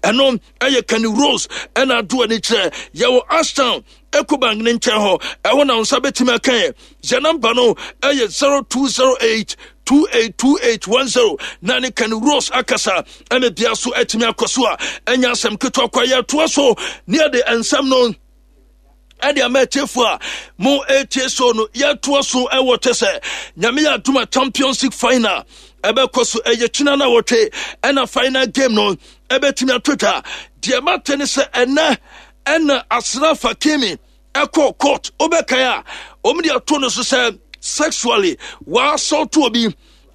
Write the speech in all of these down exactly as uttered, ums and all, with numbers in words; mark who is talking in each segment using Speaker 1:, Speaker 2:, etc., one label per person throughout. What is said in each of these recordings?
Speaker 1: Ɛno ɛyɛ Kenny Rose ɛna ado ani kyerɛ yɛwɔ Ashtown, Ecobank ne nkyɛn hɔ. Ɛhɔ na nsa bɛtumi aka yɛ. Yɛ number no ɛyɛ zero two zero eight two eight two eight one zero na ne Kenny Rose akasa ɛna bia so atumi akɔ so a ɛnyɛ asɛm ketewa kwa. Yɛtoa so ne yɛde nsɛm no ɛde ama atiefo a mo etie so no. Yɛtoa so ɛwɔ kyɛ sɛ Nyame yɛ adom a, Champions League final ɛbɛkɔ so. Ɛyɛ kyina no a wɔtwe ɛna final game no ɛbɛtumi ato dwa. Deɛ mate ne sɛ ɛnɛ ɛna Achraf Hakimi ɛkɔ court. Wobɛkae a, wɔn de ato no so sɛ sexually wɔasɔɔto obi,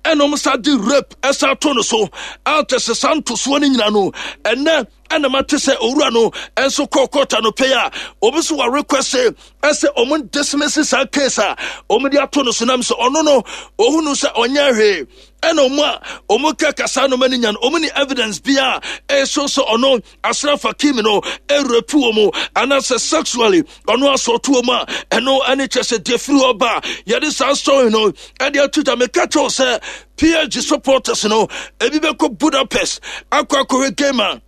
Speaker 1: ɛna wɔn sa de rape ɛsa ato no so a kyɛ sɛ saa ntosoɔ no nyina no, ɛnɛ ɛna mate sɛ owura no ɛnso kɔɔ court anɔpɛ yi a wɔn nso wɔ request ɛsɛ wɔn dismiss saa case a wɔn de ato no so, nam sɛ ɔno no ohunu sɛ ɔnyɛ hwee, ɛna wɔn a wɔn ka kasa no ma no nya no, wɔn ni evidence bi a ɛso sɛ ɔno Achraf Hakimi no ɛrape wɔ mu anaasɛ sexually ɔno asɔɔto wɔ mu a ɛno ɛne kyɛ sɛ deɛ firi hɔ ba a yɛde saa story no ɛde ato dwa. Meka kyɛw sɛ P S G supporters no ebi bɛkɔ Budapest akɔ akɔhwɛ game a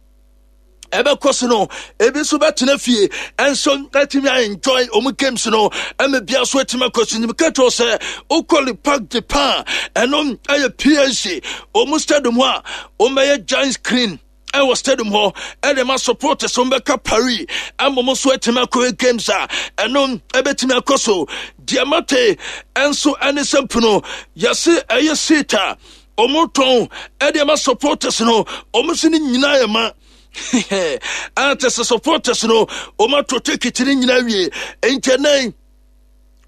Speaker 1: ɛbɛkɔ so no, ebi nso bɛtena fie ɛnso ɛtumi enjoy ɔmo games no. Ɛmɛ bia so ɛtumi akɔ so. Nim kɛtɛ sɛ okɔ Le Parc de Pan, ɛno ɛyɛ P S G ɔmo stadium hɔ a, ɔmo bɛyɛ giant screen ɛwɔ stadium hɔ ɛde ma supporters. Wɔn bɛka Paris ɛma wɔn nso atumi akɔ games a ɛno ɛbɛtumi akɔ so. Deɛ mate ɛnso ɛne sɛ mpono yɛse ɛyɛ seat a wɔn tɔn ɛde ma supporters no, wɔn nso ne nyinaa yɛ ma a kyɛ sɛ supporters no wɔn ato ticket no nyinaa wie. Nkyɛn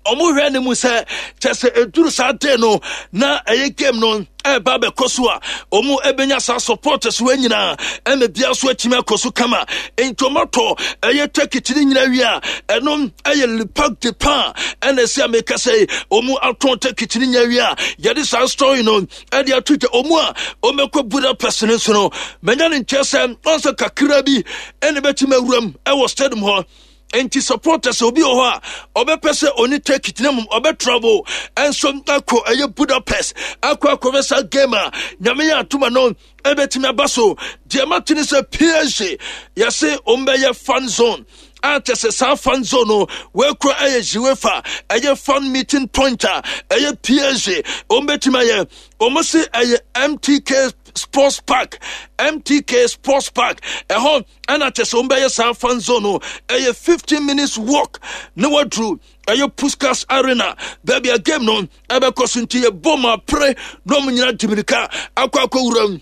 Speaker 1: ɔmo hwɛ ne mu sɛ kyɛ sɛ eduru saa day no na ɛyɛ game no ɛɛba abɛkɔ so a, ɔmo ɛbɛnya saa supporters wɔ nyinaa ɛna bia so atumi akɔ so kama. Nti ɔmo atɔ ɛyɛ ticket ne nyinaa wie a, ɛno ɛyɛ Le Parc de Pan ɛna ɛsɛ a meka sɛ ɔmo atɔn ticket ne nyinaa wie a yɛde saa story no ɛde ato dwa. Ɔmo a ɔmo ɛkɔ Budapest no nso no, mɛnya ne nkyɛn sɛ ɔnsɛ kakra bi ɛna ɛbɛtumi awuram ɛwɔ stadium hɔ. Nti supporters, obi wɔ hɔ a ɔbɛpɛ sɛ ɔne ticket na mmom ɔbɛtravel ɛnso akɔ ɛyɛ Budapest akɔ akɔbɛ saa game a Nyame yɛ atoma no ɛbɛtumi aba so. Deɛ mate ne sɛ P S G yɛse ɔmbɛyɛ fan zone a kyɛ sɛ saa fan zone no wɔakura ɛyɛ UEFA ɛyɛ fan meeting point a ɛyɛ P S G ɔmbɛtumi ayɛ. Ɔmo se ɛyɛ M T K Sports Park, M T K Sports Park ɛhɔ ɛna kyɛ sɛ wɔbɛyɛ saa fan zone no. Ɛyɛ fifteen minutes walk na waduru ɛyɛ Puskas Arena, baabi a game no ɛbɛkɔ so. Nti yɛbɔ mu apere na ɔmo nyinaa di mirika akɔ akɔwura mu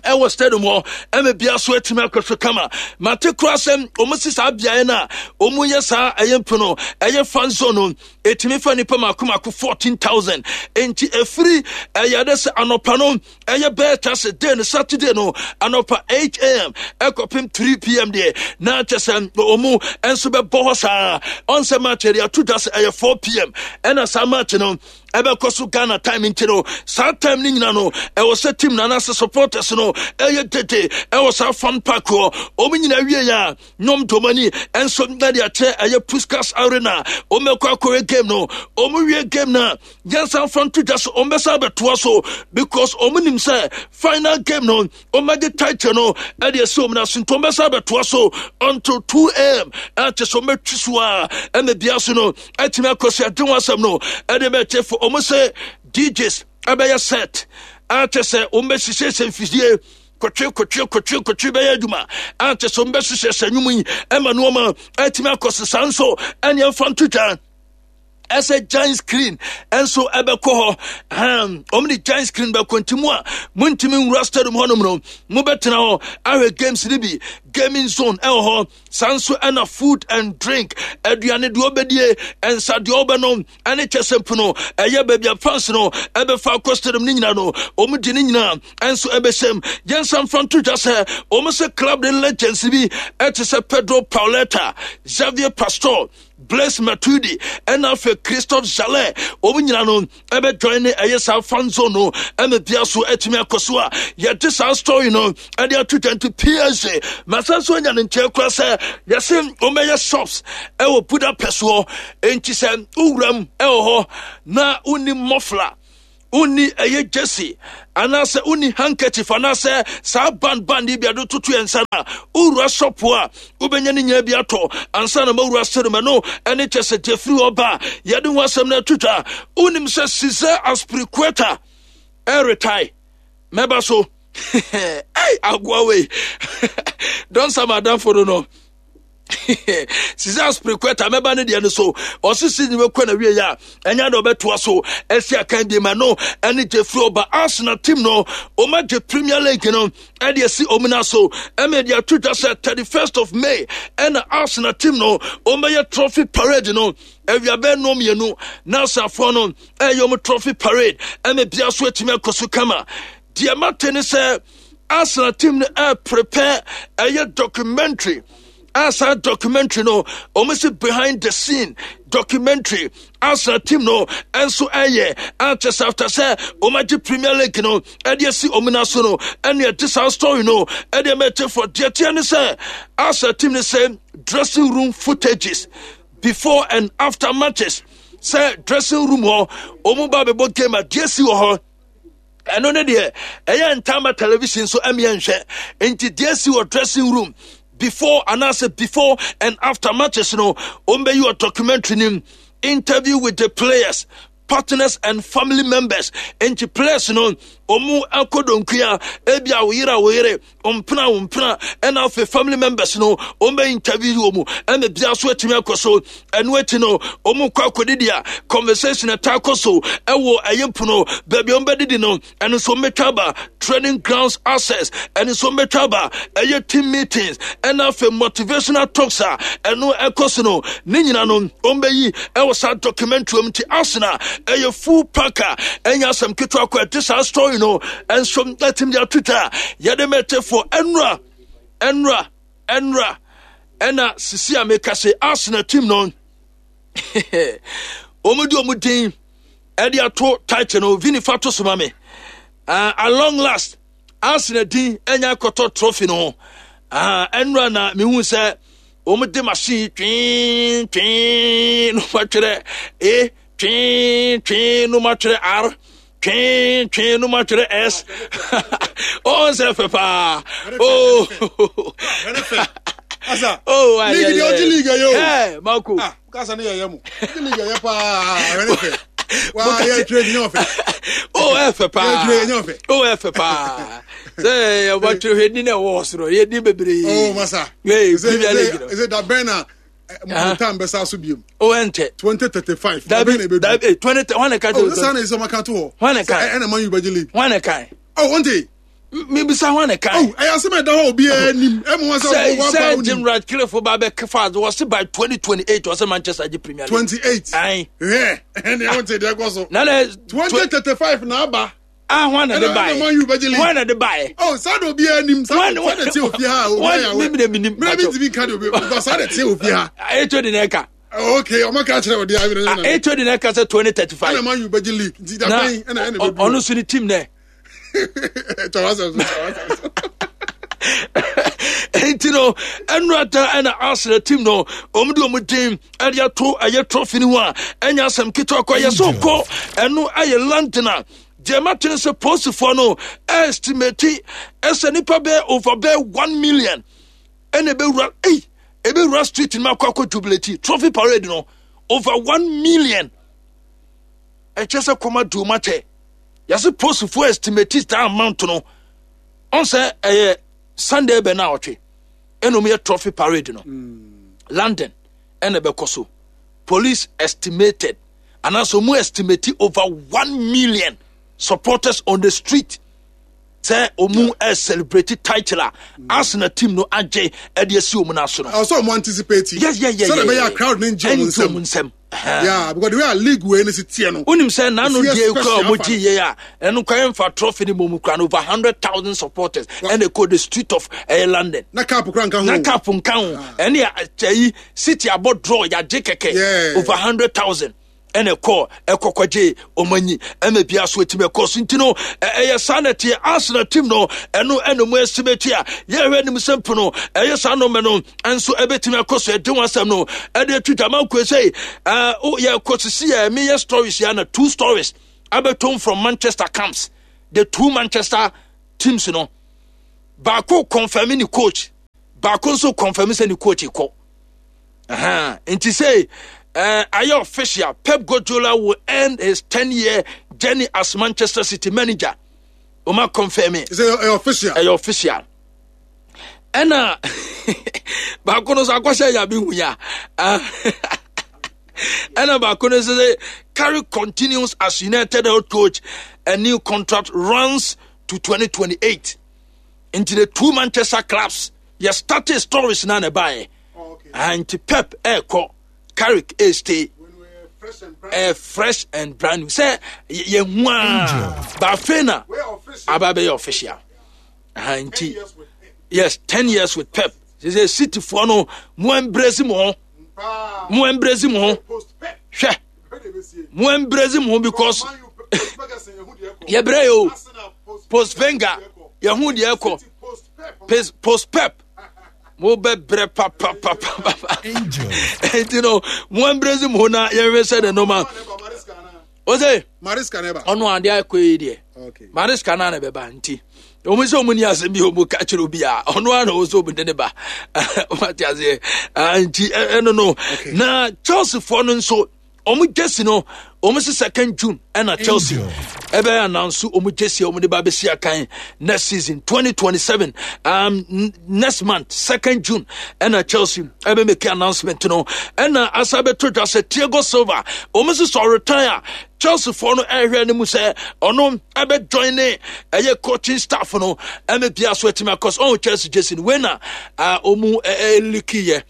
Speaker 1: ɛwɔ stadium hɔ ɛmɛ bia so atumi akɔ so kama. Mate kora sɛ ɔmo si saa beaeɛ no a ɔmo yɛ saa ɛyɛ mpo no ɛyɛ fan zone no, ɛtumi fa nipa mako mako fourteen thousand. Nti ɛfiri ɛyɛ ade sɛ anɔpa no ɛyɛ bɛyɛ ta sɛ day no, Saturday no anɔpa eight a m ɛkɔpem three p m deɛ, na kyɛ sɛ ɔmo nso bɛbɔ hɔ saa. Ɔnsɛ match yɛde ato dwa sɛ ɛyɛ four p m ɛna saa match no ɛbɛkɔ so Ghana time. Nti no saa time no nyina no ɛwɔ sɛ team no anaasɛ supporters no ɛyɛ dede ɛwɔ saa fan park hɔ. Ɔmo nyina wie a nom domani ɛnso na de akyɛ ɛyɛ Puskas Arena, ɔmo bɛkɔ akɔyɛ game no. Ɔmo wie game no a, yɛnsan fa nto dwa so ɔmo bɛsan abɛtoa so because ɔmo nim sɛ final game no ɔmo agye title no ɛde ɛsɛ ɔmo n'aso. Nti ɔmo bɛsan abɛtoa so until two a m ɛkyɛ sɛ ɔmo bɛtwi so a ɛna bia so no ɛtumi akɔ so. Ɛde ho asɛm no ɛde bɛkyɛ fo. Ɔmo sɛ D Js ɛbɛyɛ set akyɛ sɛ ɔmo bɛhyehyɛ mfidie kɔtwe kɔtwe kɔtwe kɔtwe bɛyɛ adwuma akyɛ sɛ ɔmo bɛhyehyɛ sɛ nnwom yi ɛma nneɛma ɛtumi akɔ so. Saa nso ɛne ɛmfa nto dwa ɛsɛ giant screen ɛnso ɛbɛkɔ hɔ. Wɔn de giant screen bɛkɔ, nti mu a muntumi nwura stadium hɔnom no, mobɛtena hɔ ahwɛ games no bi. Gaming zone ɛwɔ hɔ saa nso, ɛna food and drink, aduane deɛ ɔbɛdie, nsa deɛ ɔbɛnom, ɛne kyɛ sɛ mpo no ɛyɛ baabi a fans no ɛbɛfa akɔ stadium no nyinaa no, wɔn de ne nyinaa ɛnso ɛbɛhyɛm. Yɛnsa mfa nto dwa sɛ wɔn sɛ club de legends bi ɛte sɛ Pedro Pauleta, Xavier Pastor, Blaise Matuidi ɛna afei Christophe Jallet, wɔn nyinaa no ɛbɛjoin ne ɛyɛ saa fan zone no ɛna bia so ɛtumi akɔ so a yɛde saa story no ɛde ato dwa. Nti P S G masa nso anya ne nkyɛn kora sɛ yɛse wɔbɛyɛ shops ɛwɔ Budapest hɔ. Nti sɛ wowuram ɛwɔ hɔ na wonni muffler, Wonni ɛyɛ jersey anaasɛ wonni handkerchief anaasɛ saa band band yi bi ade toto yɛn nsa no a, wowura shop a wobɛnya ne nyinaa bi atɔ ansa na mawura stadium. Ɛno ɛne kyɛ sɛ deɛ firi hɔ ba a yɛde ho asɛm no ato dwa. Wonim sɛ Cesar Azpilicueta ɛretae mɛba so. Ei, agoa wei dɔnsa ma adamfo no no Cesar Azpilicueta mɛba ne deɛ no so. Ɔse season bɛkɔ na wie a ɛnyɛ de ɔbɛtoa so ɛsi akan bi ma no ɛne Jeffrey ɔba. Arsenal team no ɔma gye Premier League no ɛde asi ɔmo na so ɛmɛ de ato dwa sɛ thirty-first of May ɛna Arsenal team no ɔmbɛyɛ trophy parade no awia bɛɛ nnɔm mmienu na asafoɔ no ɛyɛ ɔmo trophy parade ɛmɛ bia so atumi akɔ so kama. Deɛ mate ne sɛ Arsenal team no ɛ prepare ɛyɛ documentary a saa documentary no wɔn si behind the scene documentary. Arsenal team no nso ɛyɛ akyɛ sɛ after sɛ wɔn agye Premier League no ɛde asi wɔn nan so no, ɛne ɛde saa story no ɛde ɛmɛ ɛte fɔ. Deɛ teɛ ne sɛ Arsenal team no sɛ dressing room footages before and after matches, sɛ dressing room hɔ wɔn ba bɛbɔ game a deɛ si wɔ hɔ, ɛno ne deɛ ɛyɛ ntama television so ɛmeɛ nhwɛ. Nti deɛ si wɔ dressing room before anaasɛ before and after matches no, wɔn bɛyi wɔ documentary nim. Interview with the players, partners and family members. Nti players no wɔn akɔ donkua ebi a wɔyere a wɔyere mpena wo mpena ɛna afei family members no wɔn bɛ interview wɔ mu ɛna bia so atumi akɔ so. Ɛno akyi no wɔn kɔ akɔdidi a conversation ɛta akɔ so ɛwɔ ɛyɛ mpono baabi a wɔn bɛdidi no, ɛno nso wɔn bɛtwa aba. Training grounds access, ɛno nso wɔn bɛtwa aba. Ɛyɛ team meetings ɛna afei motivational talks a ɛno ɛkɔ so no, ne nyina no wɔn bɛyi ɛwɔ saa documentary mu. Nti Arsenal ɛyɛ full pack a ɛnyɛ asɛm ketewa kɔ. Ɛte saa story no ɛnso ɛtumi de ato twa yɛde mɛtefo ɛnura ɛnura ɛnura ɛna sisi a meka sɛ Arsenal team no wɔn de wɔn din ɛde ato title no. Vini fa to so ma me. uh, at long last Arsenal din ɛnya akɔtɔ trophy no ho. Ɛnura na mehu sɛ wɔn de machine twee twee no matwerɛ A, twee twee no matwerɛ R, twee twee no matwerɛ S. Ɔn sɛ fɛ paa. Oh
Speaker 2: oh, league deɛ ɔgye league yɛ o.
Speaker 1: Ɛ Marco.
Speaker 2: Ah, kasa ne yɛyɛ mo ɔgye league yɛ paa, ɛwɛ ne fɛ waa yɛ twerɛ nyɛ ɔfɛ.
Speaker 1: Oh, ɛfɛ paa.
Speaker 2: Yɛ twerɛ nyɛ ɔfɛ.
Speaker 1: Oh, ɛfɛ paa sɛ yɛba twerɛ hwɛ ni na ɛwɔ soro yɛ ni bebree.
Speaker 2: Oh masa.
Speaker 1: Ee, Premier League no.
Speaker 2: Ɛsɛ dabɛn na mo time bɛ sa so biem.
Speaker 1: O ɛntɛ.
Speaker 2: Twenty thirty five.
Speaker 1: Dabi dabi, twenty wɔn na ka.
Speaker 2: Oh, sisan na esɛ ɔma kan to hɔ.
Speaker 1: Wɔn na kan.
Speaker 2: Ɛna Man U bɛ gye league.
Speaker 1: Wɔn na kan.
Speaker 2: Oh, wɔn te.
Speaker 1: Mibisa wɔn na kan.
Speaker 2: Oh, ɛyɛ asɛm ɛda hɔ, obiara nim ɛmu wɔn
Speaker 1: sɛ wɔn ba. Sɛ Jim Ratcliffe ba bɛ kefa wɔsi by twenty twenty eight wɔsɛ Manchester gye Premier League.
Speaker 2: Twenty eight.
Speaker 1: Ayi.
Speaker 2: Hwɛ, ɛni ɛwɔn te deɛ kɔ so.
Speaker 1: Nana.
Speaker 2: Twenty thirty five na aba.
Speaker 1: Ah, wɔn na de ba
Speaker 2: yɛ.
Speaker 1: yɛ
Speaker 2: Man U bɛ gye league.
Speaker 1: Wɔn na de ba yɛ.
Speaker 2: Oh, saa de obiara nim, saa de saa de te ofie ha, obiara yà
Speaker 1: wɛ. Mi mi nim.
Speaker 2: Mi mi ti mi nka de obi because saa de te ofie ha.
Speaker 1: Eto de na ɛka.
Speaker 2: Okay, ɔmo ka kyerɛ ɔdi ayi
Speaker 1: na. Eto de na ɛka sɛ twenty thirty five.
Speaker 2: Ɛna Man U bɛ gye league nti dabɛn ɛna ɛna bɛ
Speaker 1: du. Ɔno so ni team nɛ.
Speaker 2: Tɔwa sɛ so, tɔwa sɛ so.
Speaker 1: Nti no ɛnura da ɛna Arsenal team no wɔn de wɔn din ɛde ato ɛyɛ trophy no ho a ɛnyɛ asɛm ketewa kɔ yɛ so kɔ. Ɛno ɛyɛ London a deɛ mate no sɛ polisifoɔ no estimate ɛsɛ nipa bɛyɛ over bɛyɛ one million ɛna ɛbɛwura ɛyi ɛbɛwura street no akɔ akɔ jubilate trophy parade no, over one million. Ɛkyɛ sɛ kɔma du ma kyɛ yɛsɛ polisifoɔ estimate that amount no ɔn sɛ ɛyɛ Sunday bɛ na ɔtwe ɛna ɔmo yɛ trophy parade no mm. London ɛna ɛbɛkɔ so. Police estimated anaasɛ ɔmo estimate over one million supporters on the street sɛ ɔmo ɛ celebrate title a Arsenal team no agye ɛde asi ɔmo n'aso no.
Speaker 2: Ɔsɔ ɔmo anticipate.
Speaker 1: yes yes yes
Speaker 2: sɛdeɛ ɛbɛyɛ a crowd ne ngye ɔmo
Speaker 1: nsam. Nsam.
Speaker 2: Yeah, because the way a league wei ne si teɛ no.
Speaker 1: Wonim sɛ n'ano deɛ kura ɔmo gye yie a ɛno kwan mfa trophy ne mu kura no, over hundred thousand supporters ɛna ɛkɔ the street of ɛyɛ London.
Speaker 2: Na cup kura nka ho.
Speaker 1: Na cup nka ho. Ɛne ɛyi City abɔ draw yagye kɛkɛ, over hundred thousand ɛna ɛkɔ ɛkɔkɔgye ɔmo anyi ɛna bia so etimi ɛkɔ so. Nti no ɛyɛ saa na ɛteɛ. Arsenal team no ɛno ɛna mo estimate a yɛhwɛ anim sɛ mpo no ɛyɛ saa nɔɔma no nso ɛbɛtumi akɔ so. Ɛde wɔn asɛm no ɛde atu dwama nkoe sɛ ɛɛ yɛkɔ sisi yɛ meyɛ stories yɛ na two stories abɛtom from Manchester camps. The two Manchester teams no, baako confirm ne coach, baako nso confirm sɛ ne coach kɔ. Aha, nti sɛ uh, ayɛ official, Pep Guardiola will end his ten year journey as Manchester City manager. Ɔma confirm it.
Speaker 2: Sɛ ɛyɛ official.
Speaker 1: Ɛyɛ official. Ɛna baako no nso akɔhyɛ yabi hu ya. Ɛna baako no nso sɛ Carrick continues as United head coach, a new contract runs to twenty twenty-eight. Nti the two Manchester clubs yɛ started stories na na ɛbaeɛ.
Speaker 2: Oh, okay.
Speaker 1: Ah, nti Pep ɛɛkɔ, Carrick ɛstay.
Speaker 2: When we're fresh and brand.
Speaker 1: Ɛyɛ fresh and brand new sɛ yɛhu a baafei na
Speaker 2: We're official.
Speaker 1: aba bɛyɛ official. Aha,
Speaker 2: ten
Speaker 1: nti
Speaker 2: years with Pep.
Speaker 1: Yes, ten years with Pep. Sɛ sɛ Cityfoɔ no, mo embrace mo ho.
Speaker 2: Paa.
Speaker 1: Mo embrace mo ho.
Speaker 2: Post Pep.
Speaker 1: Hwɛ.
Speaker 2: Hwɛ de bɛsie.
Speaker 1: Mo embrace mo ho because
Speaker 2: Man U post Ferguson, yɛhu deɛ ɛkɔ.
Speaker 1: Yɛbrɛ yɛ o.
Speaker 2: Arsenal post
Speaker 1: Post Wenger, yɛhu deɛ ɛkɔ.
Speaker 2: City post Pep.
Speaker 1: Post post Pep, mo bɛ brɛ papapapapa. Nti no mo embrace mo ho na yɛhwɛ sɛ ne noma
Speaker 2: Maresca na.
Speaker 1: o sɛ
Speaker 2: Maresca na ɛba.
Speaker 1: Ɔno adeɛ akɔ yi deɛ.
Speaker 2: Okay.
Speaker 1: Maresca na na bɛba, nti wɔn sɛ wɔn ni asɛm bi a wɔn ka kyerɛ obi a ɔno ara na wɔn sɛ wɔn de ne ba wɔn ate aseɛ. Ah, nti ɛ- ɛno no na Chelsea foɔ no nso wɔn jersey no, wɔn sɛ second June ɛna Chelsea ɛbɛyɛ announce wɔn jersey a wɔn de ba abɛsi akan next season twenty twenty-seven. um, n- next month, second June, ɛna Chelsea ɛbɛ make announcement no. Ɛna asa bɛto dwa sɛ Thiago Silva, wɔn nso sɛ ɔretire a, Chelsea foɔ no ɛrehwɛ no mu sɛ ɔno ɛbɛ join ne ɛyɛ coaching staff no ɛmɛ bia so ɛtumi akɔ so. Ɔn Chelsea jersey no wei na ɔmu ɛɛleak yɛ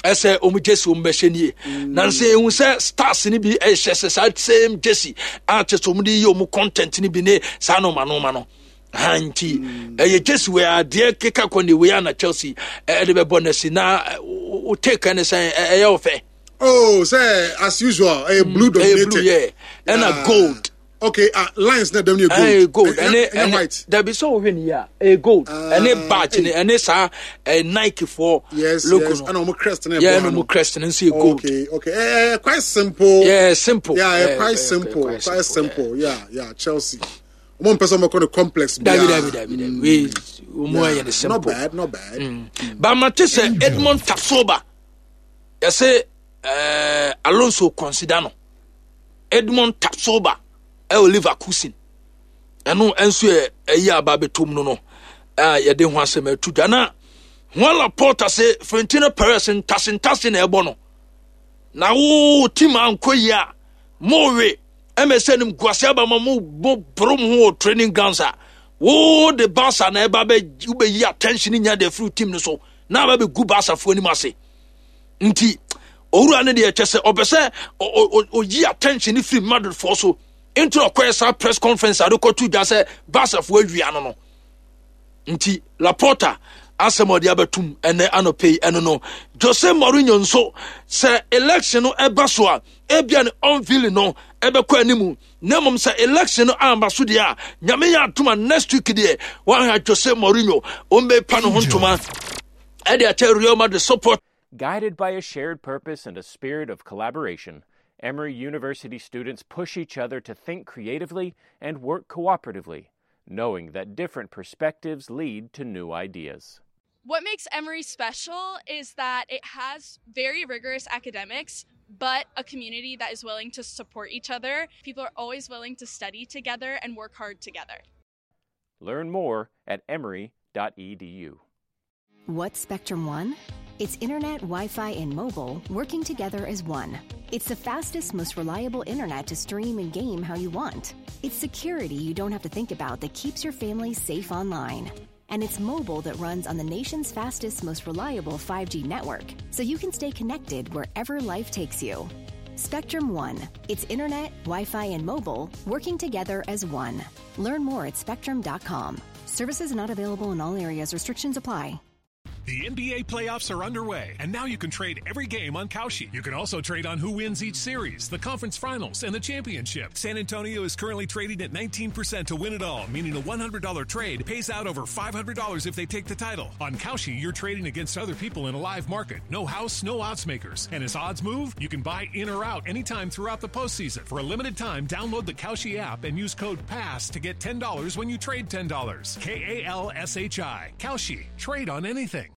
Speaker 1: ɛsɛ ɔmu jersey ɔmu bɛhyɛ nie, na nsɛ ehu sɛ stars ni bi ɛhyɛ sɛ saa same jersey a kyɛ sɛ ɔmu de yɛ ɔmu content ni bi ne saa nɔɔma nɔɔma no ha. Nti ɛyɛ jersey wei adeɛ keka kɔ ne wei a na Chelsea ɛde bɛbɔ n'asi na o take ɛne sɛ ɛyɛ ɔfɛ.
Speaker 2: Oh, sɛ as usual, ɛyɛ blue
Speaker 1: Ɛyɛ
Speaker 2: dominated.
Speaker 1: blue, yeah, ɛna
Speaker 2: Yeah.
Speaker 1: gold.
Speaker 2: Okay, uh, lines na dɛm yɛ gold.
Speaker 1: Ɛyɛ gold.
Speaker 2: Ɛnyɛ
Speaker 1: Ɛne
Speaker 2: ɛnyɛ
Speaker 1: ɛne
Speaker 2: white.
Speaker 1: Dabi, sɛ wohwɛ ne yie a, ɛyɛ gold.
Speaker 2: Ah,
Speaker 1: Ɛne badge ne ɛne saa ɛɛ Nike foɔ
Speaker 2: Yes,
Speaker 1: logo
Speaker 2: yes.
Speaker 1: no.
Speaker 2: Ɛna ɔmo crest na
Speaker 1: yɛ
Speaker 2: ɛbɔ
Speaker 1: ɛna
Speaker 2: ha no.
Speaker 1: ɔmo crest no nso yɛ gold.
Speaker 2: Okay, okay. Eh, eh, quite simple.
Speaker 1: Yeah, simple.
Speaker 2: Yeah, eh,
Speaker 1: Yeah,
Speaker 2: quite
Speaker 1: yeah,
Speaker 2: simple.
Speaker 1: quite
Speaker 2: Quite
Speaker 1: simple.
Speaker 2: simple. Yeah, yeah. Chelsea. Ɔmo mpɛ sɛ ɔmo kɔ no complex.
Speaker 1: Dabi.
Speaker 2: Biara.
Speaker 1: Dabi, dabi, dabi, wei ɔmo
Speaker 2: Yeah,
Speaker 1: ayɛ ne simple.
Speaker 2: Not bad, not bad.
Speaker 1: But mate sɛ Edmond Tapsoba, yɛsɛ ɛɛ Alonso consider no. Edmond Tapsoba ɛwɔ Leverkusen, ɛno nso yɛ ɛyi aba abɛtom no no a yɛde ho asɛm atu dwa. Na Juan Laporta sɛ Florentino Perez ntase na ɛbɔ no na wo team ankɔ yi a mowe ɛmɛ sɛ nim guase aba ma mo mo boro mo ho wɔ training grounds a wo de Barca na ɛba bɛ wobɛyi attention nya de afiri team no so na aba bɛgu Barcafoɔ anim ase. Nti owura no deɛ, kyɛ sɛ ɔpɛ sɛ ɔyi attention firi Madridfoɔ so, nti na ɔkɔyɛ saa press conference a de kɔto dwa sɛ Barcafoɔ awia no no Nti Laporta asɛm a ɔde abɛtum ɛnɛ anɔpɛ yi ɛno no. Jose Mourinho nso, sɛ election no ɛba so a, ebia ne unveiling no ɛbɛkɔ anim, na mmom sɛ election no amba so deɛ a, Nyame yɛ atoma, next week deɛ wɔahwɛ Jose Mourinho ɔmbɛpa ne ho ntoma ɛde akyɛ Real Madrid support.
Speaker 3: Guided by a shared purpose and a spirit of collaboration, Emory University students push each other to think creatively and work cooperatively, knowing that different perspectives lead to new ideas.
Speaker 4: What makes Emory special is that it has very rigorous academics, but a community that is willing to support each other. People are always willing to study together and work hard together.
Speaker 3: Learn more at emory dot E D U.
Speaker 5: What's Spectrum One? It's internet, Wi Fi, and mobile working together as one. It's the fastest, most reliable internet to stream and game how you want. It's security you don't have to think about that keeps your family safe online. And it's mobile that runs on the nation's fastest, most reliable five G network, so you can stay connected wherever life takes you. Spectrum One. It's internet, Wi Fi, and mobile working together as one. Learn more at spectrum dot com. Services not available in all areas. Restrictions apply.
Speaker 6: The N B A playoffs are underway, and now you can trade every game on Kalshi. You can also trade on who wins each series, the conference finals, and the championship. San Antonio is currently trading at nineteen percent to win it all, meaning a one hundred dollar trade pays out over five hundred dollars if they take the title. On Kalshi, you're trading against other people in a live market. No house, no odds makers. And as odds move, you can buy in or out anytime throughout the postseason. For a limited time, download the Kalshi app and use code PASS to get ten dollars when you trade ten dollars. K A L S H I. Kalshi. Trade on anything.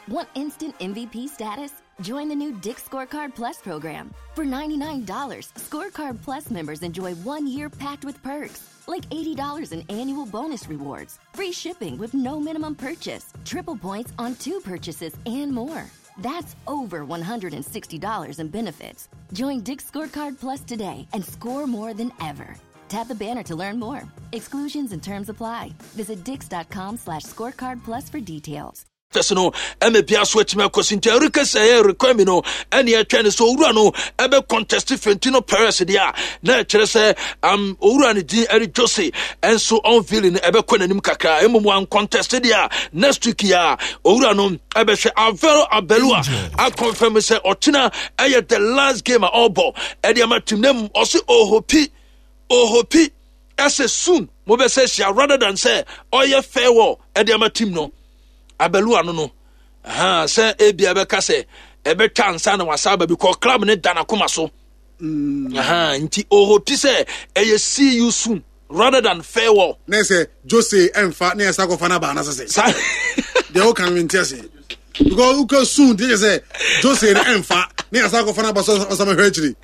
Speaker 7: Want instant M V P status? Join the new Dick's Scorecard Plus program. For ninety-nine dollars, Scorecard Plus members enjoy one year packed with perks, like eighty dollars in annual bonus rewards, free shipping with no minimum purchase, triple points on two purchases, and more. That's over one hundred sixty dollars in benefits. Join Dick's Scorecard Plus today and score more than ever. Tap the banner to learn more. Exclusions and terms apply. Visit dicks dot com slash scorecard plus for details.
Speaker 1: Tɛsɛ no ɛmɛ bia so atumi akɔ so nti ɛreka sɛ ɛyɛ requirement no ɛne ɛtwɛn no sɛ owura no ɛbɛ contest Florentino Perez deɛ a na ɛkyerɛ sɛ um, owura no din ɛde Jose ɛnso unveiling no ɛbɛkɔ n'anim kakra. Mmom wan contest deɛ a, next week yi a owura no ɛbɛhwɛ. Alvaro Arbeloa aconfirm sɛ ɔkyena ɛyɛ the last game a ɔrebɔ ɛde ama team no mu. Ɔse ɔhope ɔhope ɛsɛ soon mobɛsɛ hyia rather than sɛ ɔyɛ farewell ɛde ama team no. Arbeloa no no aha sɛ ebia bɛka sɛ ɛbɛtwa ansa na wasa aba because club ne da n'akoma so mm. Aha nti ɔhope sɛ ɛyɛ see you soon rather than farewell.
Speaker 2: Ne sɛ Jose ɛnfa ne yɛ sa kɔfa n'aba anasɛ sɛ deɛ ɔka no nti ase because wokɔ soon deɛ sɛ Jose no ɛnfa ne yɛ sa kɔfa n'aba so ɔsama hwɛ akyiri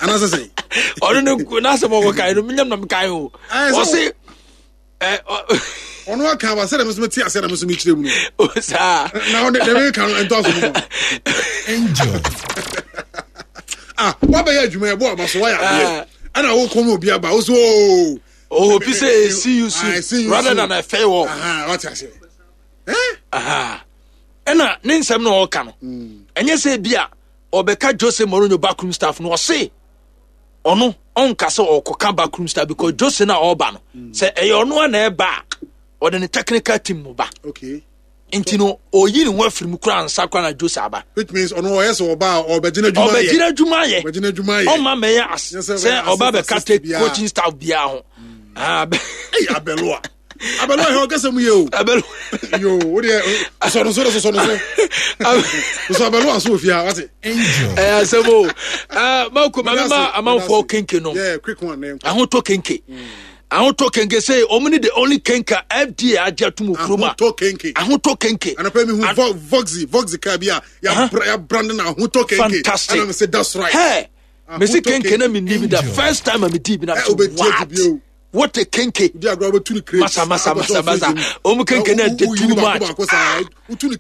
Speaker 2: anasɛ sɛ.
Speaker 1: Ɔno ne n'asɛm ɔwɔ kan no menyam nam kan o, ɔse.
Speaker 2: Ɔno aka aba sɛ dɛm nso mete ase na me nso mekyerɛ mu
Speaker 1: no. Saa.
Speaker 2: Na ɔde dɛm ka no ɛntɔ so mu.
Speaker 8: Angel.
Speaker 2: Ah, wabɛyɛ adwuma ɛbɔ aba so wayɛ adeɛ ɛna wokɔ mu obi aba wo so ooo.
Speaker 1: Oh, obi sɛ see you soon rather than a farewell.
Speaker 2: Wate ase.
Speaker 1: Ɛna ne nsɛm na ɔka no ɛnyɛ sɛ bi a ɔbɛka Jose Mourinho backroom staff no. Ɔse ɔno ɔnka sɛ ɔkɔka backroom staff because Jose na ɔreba no sɛ ɛyɛ ɔno a na ɛba a ɔde ne technical team mu ba.
Speaker 2: Okay.
Speaker 1: Nti no ɔyi ne ho afiri mu koraa nsa koraa na Jose aba.
Speaker 2: Which means ɔno ɔyɛ sɛ ɔba a ɔbɛgyina adwuma yɛ.
Speaker 1: Ɔbɛgyina adwuma yɛ.
Speaker 2: Ɔbɛgyina adwuma yɛ.
Speaker 1: Ɔma mɛyɛ as sɛ ɔba bɛka take coaching staff biara ho.
Speaker 2: Ɛyɛ Arbeloa. Arbeloa yɛ ɔkasa mu yɛ o.
Speaker 1: Arbeloa.
Speaker 2: Yo, o deɛ sɔ no so de sɔ no so. Sɔ Arbeloa so ofia wate.
Speaker 8: Angel.
Speaker 1: Ɛyɛ asɛm o. Ɛɛ mako maame ma amanfoɔ kenke no.
Speaker 2: Yeah, quick one.
Speaker 1: Ahotɔ kenke. Ahotɔ kenke sɛ ɔmo ne the only kenke a F D A agye atum wɔ kurom a.
Speaker 2: Ahotɔ kenke.
Speaker 1: Ahotɔ kenke.
Speaker 2: Anapa mi hu Voxy Voxy car bi a ya brand na Ahotɔ kenke.
Speaker 1: Fantastic.
Speaker 2: And I say that's right.
Speaker 1: Hey, mesi kenke na mi ni bi da first time a mi di bi na so what? What a kenke. Masa masa masa masa. Ɔmo kenke na de too much.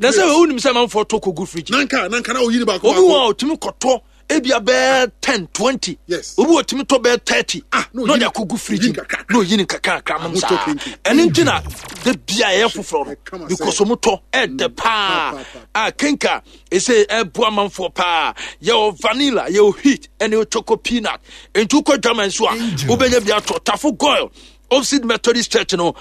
Speaker 1: Na sɛ wonim sɛ amanfoɔ tɔ kɔgu fridge.
Speaker 2: Nanka nanka na oyi ni baako.
Speaker 1: Obi wɔ a otumi kɔtɔ ebia bɛɛ ten twenty.
Speaker 2: Yes.
Speaker 1: Obi wɔ otumi tɔ bɛɛ thirty.
Speaker 2: Ah,
Speaker 1: na ɔde akɔgu fridge mu na oyi ni kakra nom saa. Ɛne nti na de bia ɛyɛ foforɔ no because ɔmo tɔ ɛdɛ paa. A kenka ese ɛboa amanfoɔ paa. Yɛwɔ vanilla, yɛwɔ wheat, ɛne choco peanut. Nti wokɔ dwama nso a wobɛnya bi atɔ. Tafo Goil opposite Methodist Church no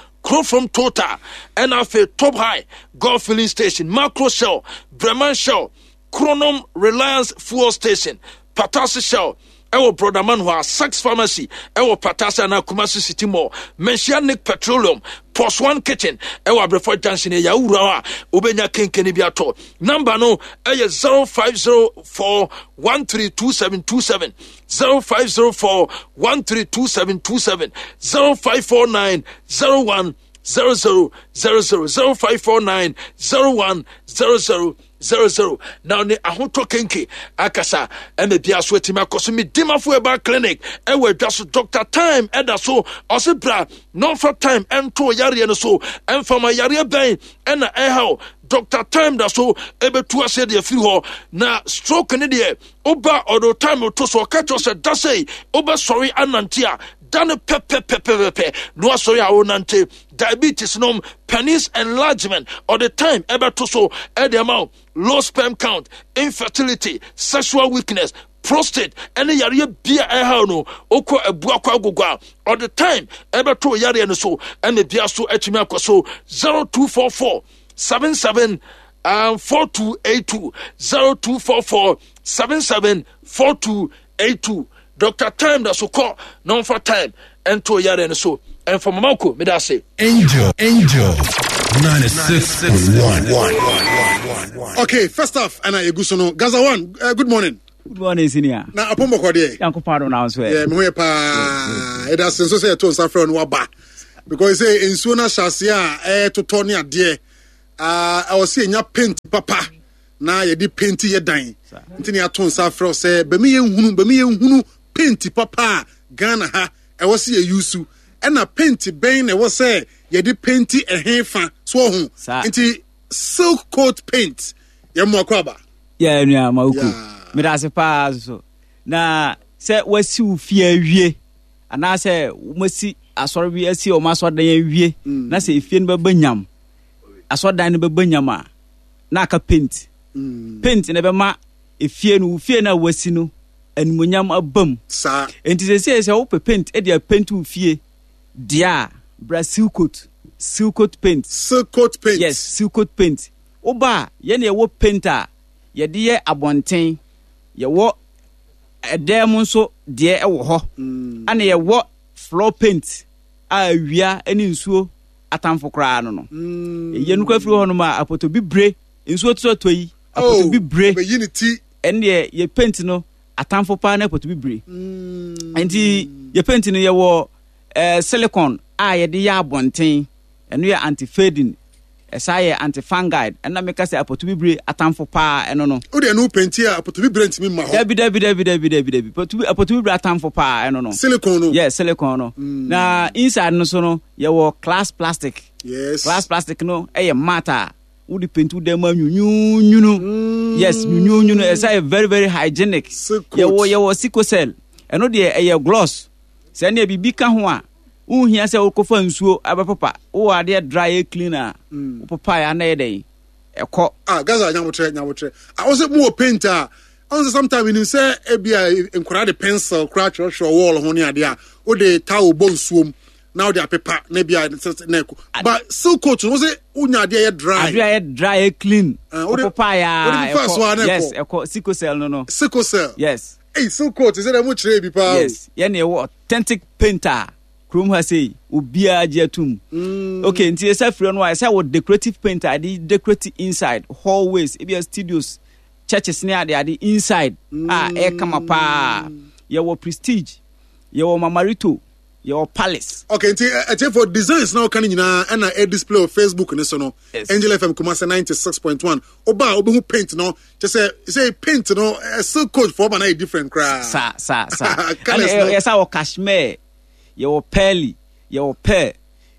Speaker 1: from Total, ɛna afei Top High Golf Filling Station, Macro Shell, Breman Shell, Kronom Reliance Fuel Station, Patasi Shell ɛwɔ Brodaman hɔ a, Sax Pharmacy ɛwɔ Patasi anaa Kumasi City Mall, Menhyia Nick Petroleum, Pos One Kitchen ɛwɔ Abrɛfo Junction. Ɛyɛ awura hɔ a wobɛnya kenkene bi atɔ. Number no ɛyɛ zero five zero four one three two seven two seven, zero five zero four one three two seven two seven, zero five four nine zero one zero zero zero zero, zero five four nine zero one zero zero zero zero. Na ne Ahotɔ kenke akasa ɛna bia so atumi akɔ so. Medimafo ɛba clinic ɛwɔ adwa so. Doctor Time ɛda so ɔse bra na ɔmfa time ɛnto yareɛ no so. Ɛmfama yareɛ bɛn ɛna ɛhaw Doctor Time da so ɛbɛtu aseɛ deɛ firi hɔ. Na stroke ne deɛ woba ɔdo time to so ɔka kyerɛ sɛ da sɛi wobɛsɔre anante a da no pɛpɛpɛpɛpɛ na wasɔre a wonante. Diabetes nom, penis enlargement, ɔde time ɛbɛto so ɛde ama wo. Low sperm count, infertility, sexual weakness, prostate ɛne yareɛ bia ɛhaw no, wokɔ Abuakɔ Agogo a ɔde time ɛbɛto yareɛ no so ɛna bia so atumi akɔ so. zero two four four seven seven um, four two eight two zero two four four seven seven four two eight two. Doctor Time da so kɔ na ɔmfa time ɛnto yare no so ɛmfa mama ko meda ase.
Speaker 8: Angel, Angel, ninety-six point one.
Speaker 2: Okay, first off, and I gusu Gaza one. Uh, good morning.
Speaker 9: Good morning, senior.
Speaker 2: Na apombo kwa de.
Speaker 9: Yanko pardon na so.
Speaker 2: Yeah, me ho pa. E da senso say to nsa frɛ no waba. Because say nsuo na hyase a e totɔ ne ade. Ah, I was say nya paint papa. Na ye di paint ye dan. Nti ne ato nsa frɛ say be me ye nhunu, be me ye nhunu paint papa Ghana ha. E was say yusu. E na paint ben na e was say ye di paint e henfa so ho. Nti silk coat paint ye mo akwaba.
Speaker 9: Yeah, nua mawuku. Me da se pa so. Na se wasi wo fie awie ana se masi asɔre bi asi o ma asɔdan awie na se efie no bɛba nyam asɔdan no bɛba nyam a na aka paint paint na bɛma efie no wo fie na wasi no animonyam abam
Speaker 2: sa
Speaker 9: enti se se se wo paint e de paint wo fie dia bra silk coat silk coat paint
Speaker 2: silk coat paint
Speaker 9: yes silk coat paint oba ye na ye wo paint a ye de ye abonten ye wo edem nso de e wo ho ana ye wo floor paint a awia eni nsuo atamfo kra no no ye nu kwa firi ho no ma apoto bibre nsuo to to yi apoto bibre
Speaker 2: be unity
Speaker 9: ene ye ye paint no atamfo pa na apoto bibre enti ye paint no ye wo eh, silicone a ye de ye abonten eno ye anti fading esa ye anti-fungi ena meka se apoto bibre atamfo pa eno no
Speaker 2: o de no paint a apoto bibre ntimi ma ho
Speaker 9: dabi dabi dabi dabi dabi dabi apoto apoto bibre atamfo pa eno no
Speaker 2: silicone no
Speaker 9: yes silicone no mm. Na inside no so no ye wo glass plastic
Speaker 2: yes
Speaker 9: glass plastic no e ye matter wo di paint wo dem anyunyunu mm. Yes nyunyunu esa ye very very hygienic ye wo ye wo sikosel eno de e ye gloss se na bibi ka ho a unhia se wokofa nsuo abapapa wo ade dry cleaner wo papa ya na ye ekɔ
Speaker 2: ah Gaza nyawotre nyawotre I was more painter on sometimes you say e bia nkora de pencil kra twerɛ wall ho ne ade a wo de towel bo nsuom na wo de apepa na bia na ekɔ but silk coat no say unya ade ye dry
Speaker 9: ade ye dry clean wo papa ya yes ekɔ sikosel no no
Speaker 2: sikosel
Speaker 9: yes
Speaker 2: hey silk coat is it mo kyerɛ bi pa
Speaker 9: yes ye na wo authentic painter Krum ha say obia agye mm. Okay nti esa firi no esa wo decorative paint ade decorate inside hallways ebia studios churches ne ade ade inside mm. Ah e kama pa ye wo prestige ye wo mamarito ye wo palace
Speaker 2: okay nti eti for designs na kan nyina na e display on Facebook ne so no
Speaker 9: yes.
Speaker 2: Angel F M Kumasi ninety-six point one oba obehu paint no che say say paint no silk coat for na different kra
Speaker 9: sa sa sa esa wo cashmere ye wo pearly ye wo pearl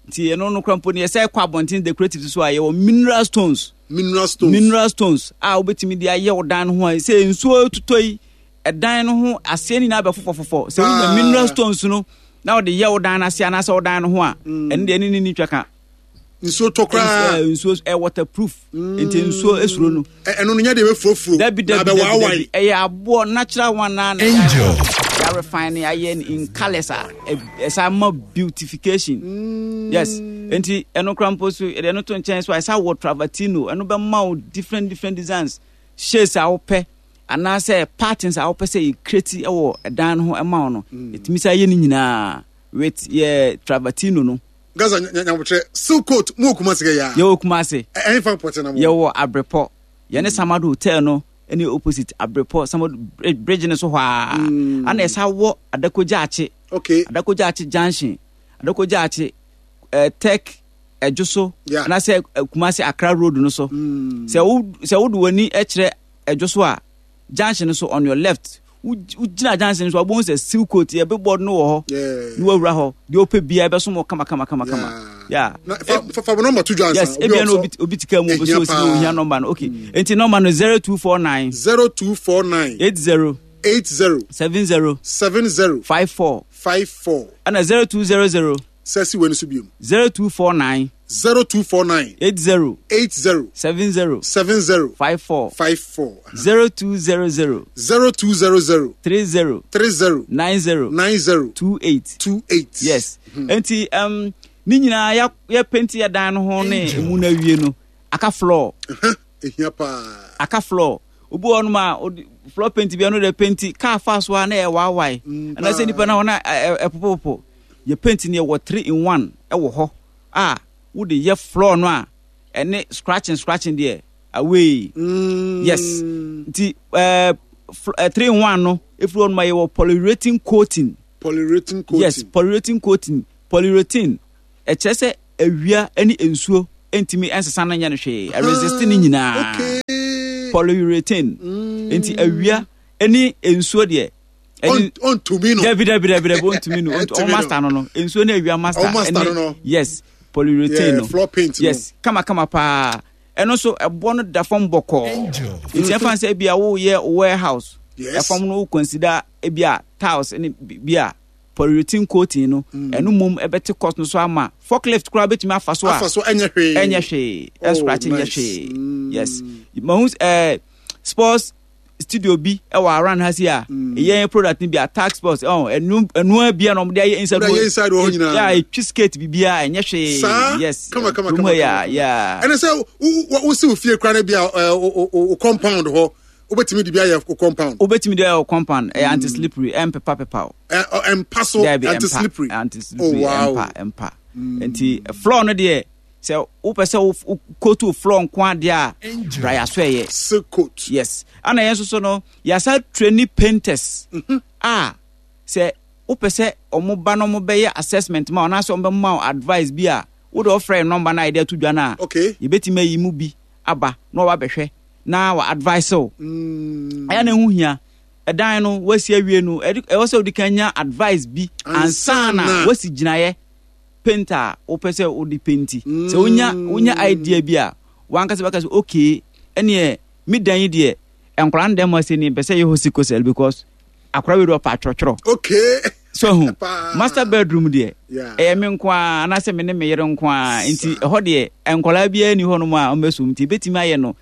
Speaker 9: nti eno no krampo ne ye kwa abonten decorative so a ye wo mineral stones
Speaker 2: mineral stones
Speaker 9: mineral stones a obetimi de aye wo dan ho a se nsuo tutoi edan no ho ase ni na be fofofofo se wo mineral stones no na wo de ye wo dan ase ana se wo dan no ho a eno de ni ni twaka
Speaker 2: nsuo tokra
Speaker 9: nsuo e waterproof nti nsuo esuro no
Speaker 2: eno no nya de be furofuro na be wawai
Speaker 9: e ye abo natural one na
Speaker 8: Angel
Speaker 9: ya refine aye in colors a esa ma beautification mm. Yes enti eno krampo so eno to nchen so esa wo travertino eno be ma different different designs shapes a wo pe ana say patterns a wo pe say create e wo dan ho e ma no etimi say ye ni nyina with ye travertino no
Speaker 2: Gaza nyawotre silk coat mo Kumasi ya
Speaker 9: ye wo Kumasi
Speaker 2: e fa pote na mo
Speaker 9: ye wo Abrepo ye ne Samado Hotel no any opposite Abrepo Samado bridge ne so hwa ana esa wo Adakogya Ache
Speaker 2: okay
Speaker 9: Adakogya Ache junction Adakogya Ache eh, tech ejoso
Speaker 2: yeah.
Speaker 9: Ana se Kumasi Accra road no so se wo se wo de wani e kire ejoso a junction so on your left ujina junction so abon se silk coat ye be board no wo ho
Speaker 2: yeah
Speaker 9: no awura ho de ope bia be so mo kama kama kama kama yeah
Speaker 2: fa fa number two johnson
Speaker 9: yes ebia no obi obi tika mu obi so si ohia number no okay enti number no zero two four nine
Speaker 2: zero two four nine
Speaker 9: eight zero
Speaker 2: eight zero
Speaker 9: seven zero
Speaker 2: seven zero
Speaker 9: five four
Speaker 2: five four
Speaker 9: ana zero two zero zero
Speaker 2: sesi we no so biom
Speaker 9: zero two four nine
Speaker 2: zero two four nine
Speaker 9: eight zero
Speaker 2: eight zero
Speaker 9: seven zero
Speaker 2: seven zero
Speaker 9: five four
Speaker 2: five four
Speaker 9: zero two zero zero
Speaker 2: zero two zero zero
Speaker 9: three zero
Speaker 2: three zero
Speaker 9: nine zero
Speaker 2: nine zero
Speaker 9: two eight
Speaker 2: two eight
Speaker 9: yes enti um ni nyina ya ya paint ya dan no ho ne emu na wie no Aka floor.
Speaker 2: Ehia paa.
Speaker 9: Aka floor. Obi wɔ hɔnom a ɔde floor paint bi, ɛno de paint car fa so a na ɛyɛ waawae.
Speaker 2: Mm,
Speaker 9: Anaasɛ nipa na hɔ na ɛpopopopo. Yɛ paint no, yɛwɔ three in one ɛwɔ hɔ a wode yɛ floor no a, ɛne scratching scratching deɛ away.
Speaker 2: Mm.
Speaker 9: Yes. Nti ɛɛ uh, three in one no, efiri hɔ nom a, yɛwɔ polyurethane coating.
Speaker 2: Polyurethane coating.
Speaker 9: Yes, polyurethane coating. Polyurethane ɛkyerɛ sɛ awia ne nsuo ntumi nsesa no nyɛ no hwee, ɛresist ne nyinaa.
Speaker 2: Okay.
Speaker 9: Polyurethane. Nti awia ne nsuo deɛ ɛne
Speaker 2: Ɔntumi no.
Speaker 9: Dabi, dabi, dabi, dabi, ɔntumi no.
Speaker 2: Ɔntumi
Speaker 9: ɔmo
Speaker 2: no.
Speaker 9: Master no no nsuo ne awia master.
Speaker 2: Ɔmo master no no.
Speaker 9: Yes, polyurethane
Speaker 2: Yeah,
Speaker 9: no.
Speaker 2: floor paint no.
Speaker 9: Yes, kama kama paa. Ɛno nso ɛboɔ no da fam bɔkɔɔ, nti ɛfa sɛ ebi a woyɛ warehouse,
Speaker 2: Yes.
Speaker 9: ɛfam no wo consider ebi a tiles ne bi a polyurethane coating no, ɛno mmom ɛbɛte cost no so ama forklift koraa bɛtumi afa so a
Speaker 2: Afa so, ɛnyɛ hwee.
Speaker 9: Ɛnyɛ hwee.
Speaker 2: Oh,
Speaker 9: Ɛscratch nyɛ
Speaker 2: nice.
Speaker 9: hwee. Yes, mahu ɛɛ sports studio bi ɛwɔ around ha si a ɛyɛ product ni bi a tag sports ɔn ɛnu ɛnua bi a na wɔde ayɛ inside.
Speaker 2: Wɔde ayɛ inside wɔ hɔ nyinaa.
Speaker 9: Yeah, etwi skate bibiara, ɛnyɛ hwee.
Speaker 2: Saa.
Speaker 9: Yes.
Speaker 2: Kama kama
Speaker 9: kurom
Speaker 2: kama
Speaker 9: ha yi a
Speaker 2: kama.
Speaker 9: Yeah.
Speaker 2: Ɛne sɛ wosi wo fie kora no bi a ɛ, wo- wo wo compound hɔ, wobɛtumi de bi ayɛ wo compound.
Speaker 9: Wobɛtumi de ayɛ wɔ compound. Ɛyɛ anti slippery, ɛmpepa pepa o.
Speaker 2: Ɛ, ɔ, ɛmpa so.
Speaker 9: Dabi.
Speaker 2: Anti slippery.
Speaker 9: Anti slippery.
Speaker 2: Oh, wow.
Speaker 9: Ɛmpa, ɛmpa. Nti floor no deɛ, sɛ wopɛ sɛ wo wo coat wo floor nko adeɛ a, bra yɛ so ɛyɛ
Speaker 2: Silk coat.
Speaker 9: Yes, ana yɛn nso so no, yɛasa train painters a sɛ wopɛ sɛ ɔmo ba no, ɔmo bɛyɛ assessment ma wo anaasɛ ɔmo bɛma wo advice bi a, wode ɔfrɛ yɛn number no a yɛde ato dwa no a,
Speaker 2: Okay.
Speaker 9: yɛbɛtumi ayi mu bi aba na ɔba bɛhwɛ na wa advice wo. Ɛyɛ na ɛho hia. Ɛdan no wasi awie no, ɛde- ɛwɔ sɛ wode kan nya advice bi ansa na
Speaker 2: Ansa na.
Speaker 9: wasi gyinaeɛ paint a wopɛ sɛ wode paint. Sɛ wonya wonya idea bi a, wankasa bɛka sɛ okay, ɛneɛ me dan yi deɛ, nkwaraa no dɛm ase ni mpɛ sɛ yɛ hɔ sikosɛl because akwaraa wei de ɔpa atwerɛtwerɛ.
Speaker 2: Okay.
Speaker 9: So hu
Speaker 2: Paa.
Speaker 9: master bedroom deɛ,
Speaker 2: Yeah.
Speaker 9: ɛyɛ me nko a anaasɛ me ne me yere nko a, nti ɛhɔ deɛ nkwaraa biara ni hɔnom a ɔmbɛsom, nti ebɛtumi ayɛ no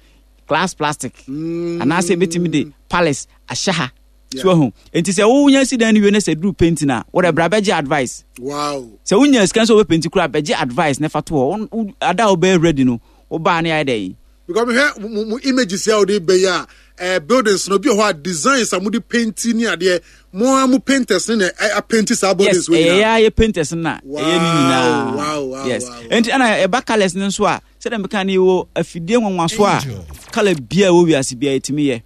Speaker 9: glass plastic anaasɛ ebɛtumi de palace ahyɛ ha. So hu, nti sɛ wonya si dan no wie na sɛ duru painting a, wɔde bra bɛgye advice.
Speaker 2: Wow.
Speaker 9: Sɛ wonya sika nso wobɛpaint koraa, bɛgye advice na fa to hɔ. Wo- wo- ada a wobɛyɛ ready no, wobaa ne ayɛ dɛn.
Speaker 2: Because mehwɛ mo mo images a wode bɛyɛ a, eh, buildings no bi wɔ hɔ a, designs a mode paint ne adeɛ, mo a mo painters ne na ɛ- apaint saa buildings
Speaker 9: Yes.
Speaker 2: wɔ
Speaker 9: Ɛyɛ
Speaker 2: nyinaa.
Speaker 9: yɛ ayɛ painters no na ɛyɛ ne nyinaa.
Speaker 2: Wow, wow,
Speaker 9: Yes.
Speaker 2: wow, wow.
Speaker 9: Nti ɛna ɛba colours no nso a, sɛdeɛ meka no, yɛwɔ afidie nwanwaso a colour bia ɛwɔ wiase bia yɛtumi yɛ.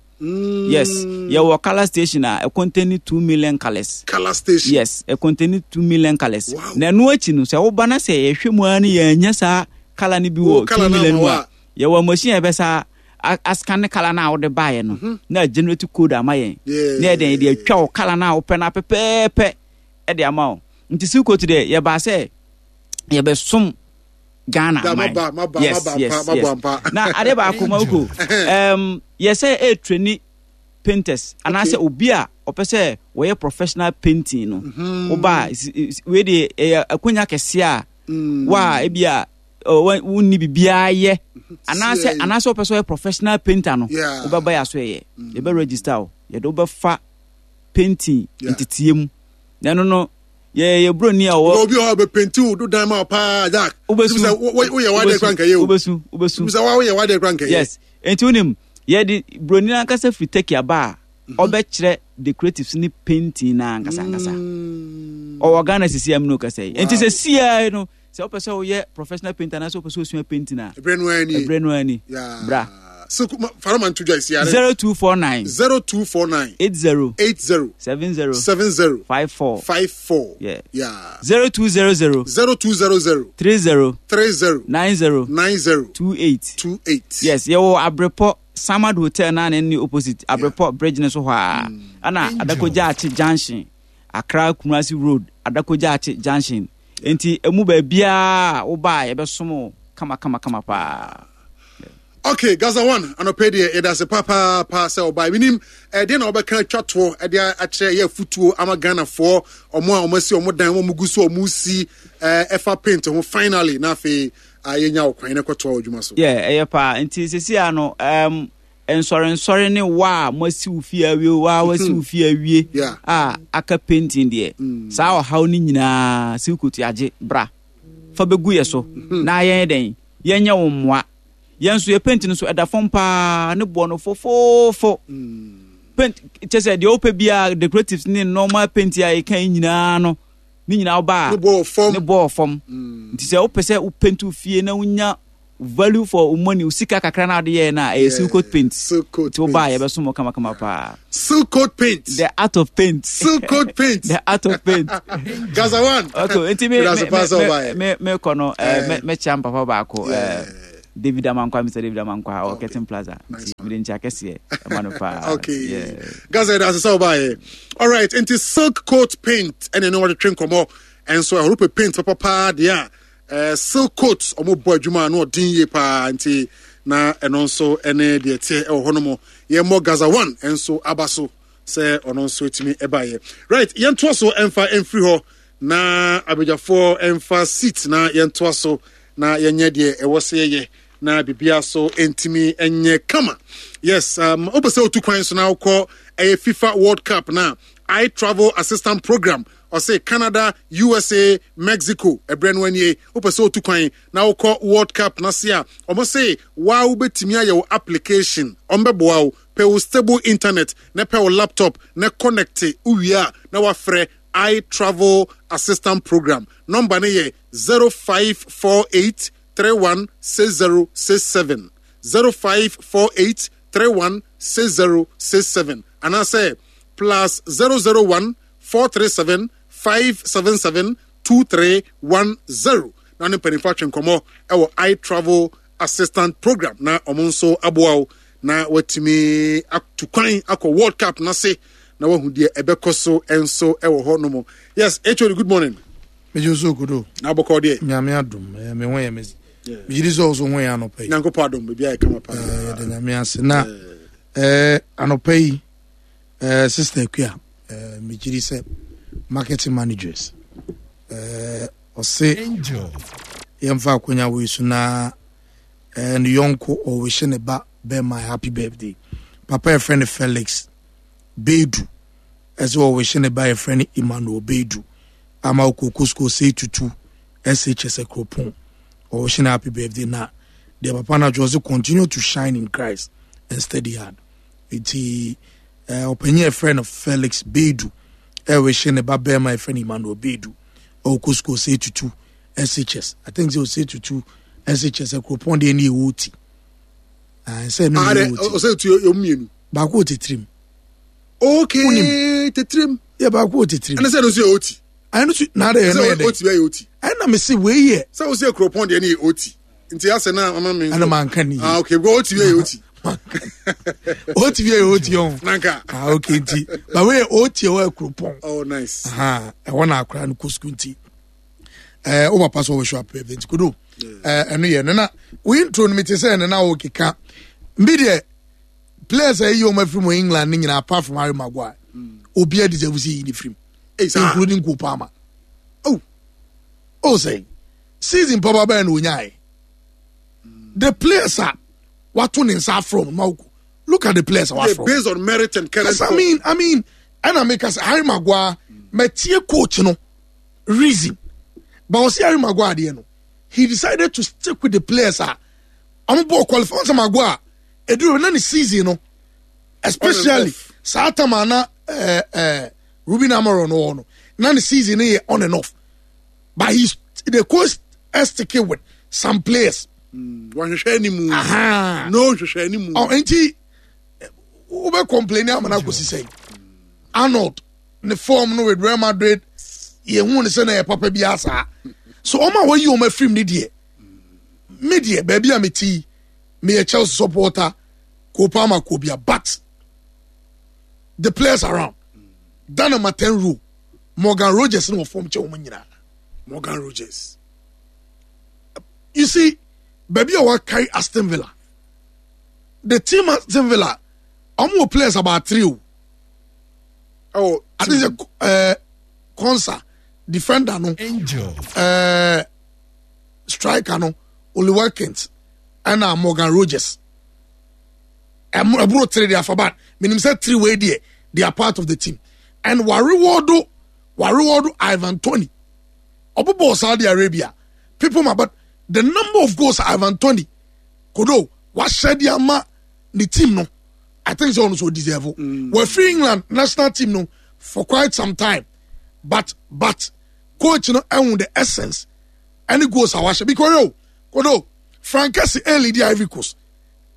Speaker 9: Yes, yɛwɔ colour station a ɛcontain two million colours.
Speaker 2: Colour station.
Speaker 9: Yes, ɛcontain two million colours.
Speaker 2: Wow.
Speaker 9: Na ɛno akyi no, sɛ woba na sɛ yɛhwɛ mu ara ne yɛanya saa colour no bi
Speaker 2: Wo
Speaker 9: wɔ
Speaker 2: colour
Speaker 9: two
Speaker 2: no
Speaker 9: million
Speaker 2: ama
Speaker 9: mu
Speaker 2: wo
Speaker 9: a,
Speaker 2: a,
Speaker 9: yɛwɔ machine a yɛbɛsa a- ascan colour no a wode baeɛ no na generate code ama yɛn
Speaker 2: Yeah.
Speaker 9: na yɛde yɛde atwa wo colour no a wopɛ no pɛpɛɛpɛ ɛde ama wo. Nti silk coat deɛ, yɛbaa sɛ yɛbɛsom Ghana
Speaker 2: Da,
Speaker 9: man.
Speaker 2: maba, maba,
Speaker 9: Yes.
Speaker 2: maba
Speaker 9: Yes.
Speaker 2: ampa, maba
Speaker 9: Yes.
Speaker 2: ampa.
Speaker 9: Na ade baako ma woko, um, yɛsɛ ɛtrain painters anaasɛ obi a ɔpɛ sɛ wɔyɛ professional painting no, woba a, si- si- wei deɛ ɛyɛ akonya kɛseɛ a wa a ebi a ɔ, wa- wonni biribiara yɛ anaasɛ
Speaker 2: Sie.
Speaker 9: anaasɛ wopɛ sɛ ɔyɛ professional painter no,
Speaker 2: Yeah.
Speaker 9: wobɛba yɛ aso yɛ, yɛbɛ register wo, yɛde wobɛfa painting
Speaker 2: Yeah.
Speaker 9: nteteɛ mu. Na ɛno no, yɛ yɛ buroni a ɔwɔ
Speaker 2: Obi wɔ hɔ a ɔbɛpaint wo do dan ma wo paa, Jack.
Speaker 9: Wobɛsu.
Speaker 2: Sɛ wo- wo- woyɛ w'adeɛ kora nkɛyɛ o.
Speaker 9: Wobɛsu, wobɛsu.
Speaker 2: Sɛ wa woyɛ w'adeɛ kora nkɛyɛ.
Speaker 9: Yes, nti wonim yɛde buroni no ankasa firi Turkey aba a ɔbɛkyerɛ decoratives ne painting na ankasa ankasa. Ɔwɔ Ghana sisi am no kasa yi. Nti sɛ siaa no, sɛ wopɛ sɛ woyɛ professional painter anaasɛ wopɛ sɛ wosua painting a,
Speaker 2: ɛberɛ no ara nie.
Speaker 9: Ɛberɛ no ara ni.
Speaker 2: Yeah.
Speaker 9: Bra.
Speaker 2: So farama nto dwa esi are.
Speaker 9: zero two four nine
Speaker 2: zero two four nine
Speaker 9: eight zero
Speaker 2: eight zero
Speaker 9: seven zero
Speaker 2: seven zero
Speaker 9: five four.
Speaker 2: five four.
Speaker 9: Yeah.
Speaker 2: Yeah.
Speaker 9: zero two zero zero
Speaker 2: zero two zero zero
Speaker 9: three zero
Speaker 2: three zero
Speaker 9: nine zero
Speaker 2: nine zero
Speaker 9: two eight.
Speaker 2: two eight.
Speaker 9: Yes, yɛwɔ Abrepɔ Samad Hotel na ne ne opposite Abrepɔ bridge ne so hɔ a, ana Adakogya Akye Junction, Accra Kumasi Road, Adakogya Akye Junction. Nti emu baabiaa woba a, yɛbɛsom wo kama kama kama paa.
Speaker 2: Okay, Gaza One, anɔpɛ deɛ yɛda ase papaapa sɛ ɔbaa. Menim ɛdeɛ na wɔbɛka atwa toɔ ɛde akyerɛ yɛ afutuo ama Ghanafoɔ, ɔmo a ɔmo asi ɔmo dan, ɔmo gu so ɔmo si ɛɛ ɛfa paint ho. Finally, na afei a yɛnya wo kwan na kɔtoa wɔ adwuma so.
Speaker 9: Yeah, ɛyɛ paa. Nti sisi a no, um, nsɔrensɔre ne wa a moasi wo fie awie, wa a wasi wo fie awie
Speaker 2: Yeah.
Speaker 9: a aka painting deɛ, saa ɔhaw no nyinaa silk coat agye. Bra fa bɛgu yɛ so na yɛn dɛn, yɛnyɛ wo mmoa. Yɛn nso yɛ paint no so ɛda fam paa, ne boɔ no fofoofo. Paint kyɛ sɛ deɛ wopɛ biara, decoratives ne normal paint a yɛka yi nyinaa no, ne nyinaa woba a
Speaker 2: Ne boɔ wɔ fam.
Speaker 9: Ne boɔ wɔ fam. Nti sɛ wopɛ sɛ wo paint wo fie na wonya value for wo money, wo sika kakra na wode yɛɛ no a, ɛyɛ Silk Coat Paint.
Speaker 2: Silk Coat.
Speaker 9: Nti woba a,
Speaker 2: Paint.
Speaker 9: yɛbɛsom wo kamakama paa.
Speaker 2: Silk Coat Paint.
Speaker 9: The art of paint.
Speaker 2: Silk Coat Paint.
Speaker 9: The art of paint.
Speaker 2: Gaza One.
Speaker 9: Okay, nti me
Speaker 2: That's
Speaker 9: me
Speaker 2: the pass
Speaker 9: me me me kɔ no, eh,
Speaker 2: Eh.
Speaker 9: me mekyia mpapa baako,
Speaker 2: Yeah.
Speaker 9: eh, David Amankwa, Mister David Amankwa, ɔwɔ Curtain Plaza. Nti mede nkyia kɛseɛ ɛma no paa.
Speaker 2: Okay.
Speaker 9: Yeah.
Speaker 2: Gaza, that's so by. All right, into Silk Coat Paint and then what drink more and so I hope paint papa there. Uh, Silk Coat ɔmo bɔ adwuma no ɔden yie paa, nti na ɛno nso ɛne deɛ teɛ ɛwɔ hɔ nom. Yɛmmɔ Gaza One nso aba so sɛ ɔno nso etumi ɛbaeɛ. Right, yɛntoa so ɛmfa ɛmfiri hɔ na abadwafoɔ ɛmfa seat na yɛntoa so na yɛnyɛ deɛ ɛwɔ sɛ yɛyɛ na biribiara so ntumi ɛnyɛ kama. Yes, um, wopɛ sɛ wotu kwan so na wokɔ ɛyɛ FIFA World Cup na I Travel Assistant Program, ɔsɛ Canada, U S A, Mexico, ɛberɛ no anie. Wopɛ sɛ wotu kwan na wokɔ World Cup na se a ɔmo se waa wobɛtumi ayɛ wo application, ɔmbɛboa wo. Pɛ wo stable internet na pɛ wo laptop na connect, wowie a na wafrɛ I Travel Assistant Program. Number no yɛ zero five four eight three one six zero six seven, zero five four eight three one six zero six seven, anaasɛ plus zero zero one four three seven five seven seven two three one zero na ne mpanimfoɔ atwe nkɔmmɔ ɛwɔ I Travel Assistant Program na ɔmo nso aboa wo na watumi atu kwan akɔ World Cup n'ase na wahu deɛ ɛbɛkɔ so nso ɛwɔ hɔ nom. Yes, H O D, good morning.
Speaker 10: Megye so kodo.
Speaker 2: Na abɔkɔ deɛ?
Speaker 10: Nyame adom, eh, me ho yɛ me. Megye di sɛ wo so ho yɛ anɔpa yi.
Speaker 2: Nyankopɔn adom, biribi ayɛ kama paa.
Speaker 10: Eh, yɛda Nyame ase. Na eh, anɔpa yi, eh, Sister Akua, eh, megye di sɛ marketing managers, eh, ɔse yɛmfa akwanya wei so na eh, ne yɔnko ɔwehyɛ ne ba bɛma happy birthday. Papa yɛfrɛ no Felix Bedu, ɛsɛ ɔwehyɛ ne ba yɛfrɛ no Emmanuel Bedu ama okoko school sɛ tutu S H S Kuropɔn. Ɔwehyɛ no happy birthday na deɛ papa no atwerɛ sɛ continue to shine in Christ and study hard. Nti eh, ɔpanyin a yɛfrɛ no Felix Bedu ɛwehyɛ ne ba bɛrima yɛfrɛ no Emmanuel Bedu, ɔkɔ school sɛ tutu S H S. I think sɛ ɔsɛ tutu S H S Kuropɔn deɛ ne yɛwɔ ti. Ah, sɛ no
Speaker 2: Ah,
Speaker 10: ne
Speaker 2: dɛ,
Speaker 10: yɛwɔ ti.
Speaker 2: Ɔsɛ tu yɛ mmienu.
Speaker 10: Baako wɔ titirim.
Speaker 2: Okay.
Speaker 10: Wonim.
Speaker 2: Tetirim.
Speaker 10: Yɛ baako wɔ titirim.
Speaker 2: Ɛne sɛ no nso yɛ oti.
Speaker 10: Ɛno so na adɛ ɛno yɛ
Speaker 2: Sɛ
Speaker 10: dɛ.
Speaker 2: oti bɛyɛ oti.
Speaker 10: Ɛna me se wei yɛ.
Speaker 2: Sɛ wo sɛ Kuropɔn deɛ ne yɛ oti, nti asɛ na ama me.
Speaker 10: Ɛna manka ne yie.
Speaker 2: Ah, okay, because oti bɛyɛ oti.
Speaker 10: Oti bi yɛ oti ɔn.
Speaker 2: Nanka.
Speaker 10: Ah, okay, nti ba wei yɛ oti ɛwɔ Kuropɔn.
Speaker 2: Oh, nice.
Speaker 10: Aha, ɛhɔ na akora no kɔ sukuu, nti ɛɛ o papa sɛ ɔbɛhwɛ apɛ nti kodo ɛɛ ɛno yɛ no na wo intro no mi te sɛ ɛno na wo keka mbi deɛ players a ɛyi wɔn afiri mu England ne nyinaa, apart from Harry Maguire, obiara deserve sɛ yi ne firim,
Speaker 2: Hey, saa.
Speaker 10: including Cole Palmer.
Speaker 2: Oh.
Speaker 10: Oh, sɛ season papa bɛyɛ na onyae the players a wato ne nsa afrɛ wɔn ma woko, look at the players a
Speaker 2: Yeah,
Speaker 10: wafrɛ wɔn.
Speaker 2: Based on merit and current
Speaker 10: Yes, I
Speaker 2: form.
Speaker 10: mean, I mean, ɛna meka sɛ Harry Maguire, mɛtie coach no reason, but ɔsi Harry Maguire adeɛ no, he decided to stick with the players a ɔmo bɔ qualify. Ɔn sɛ Maguire eduru na ne season no, especially
Speaker 2: off.
Speaker 10: Saa time a na ɛɛ ɛɛ Ruben Amorim no wɔ no, na ne season no yɛ on and off, but he's the coach is sticking with some players.
Speaker 2: Wɔhwehwɛ anim.
Speaker 10: Aha.
Speaker 2: No hwehwɛ anim.
Speaker 10: Ɔ nti wobɛ complain ama no akɔsi sɛn? Arnold ne form no with Real Madrid, yɛhu ne sɛ na yɛ papa bi asaa so ɔma a wɔyi ɔma afirim ne deɛ, me deɛ baabi a mete yi, meyɛ Chelsea supporter, Cole Palmer kɔ but the players around that number ten role, Morgan Rogers ne wɔ form kyɛ wɔn nyinaa.
Speaker 2: Morgan Rogers.
Speaker 10: You see baabi a wɔacarry Aston Villa, the team Aston Villa, ɔmo wɔ players about three o.
Speaker 2: Oh.
Speaker 10: I think sɛ ɛɛ Konsa defender no, ɛɛ striker no, Oli Watkins, ɛna Morgan Rogers. Ɛmo ɛboro three de afa ba menim sɛ three wei deɛ, they are part of the team and wareward wareward Ivan Toney ɔbobɔ Saudi Arabia people ma, but the number of goals Ivan Toney Kodo wahyɛ de ama ne team no, I think sɛ ɔno so deserve. Mm. Wafiri England national team no for quite some time, but but coach no ɛhu the essence ɛne goals a wahyɛ because yo Kodo, Frank Kessie ɛlead the Ivory Coast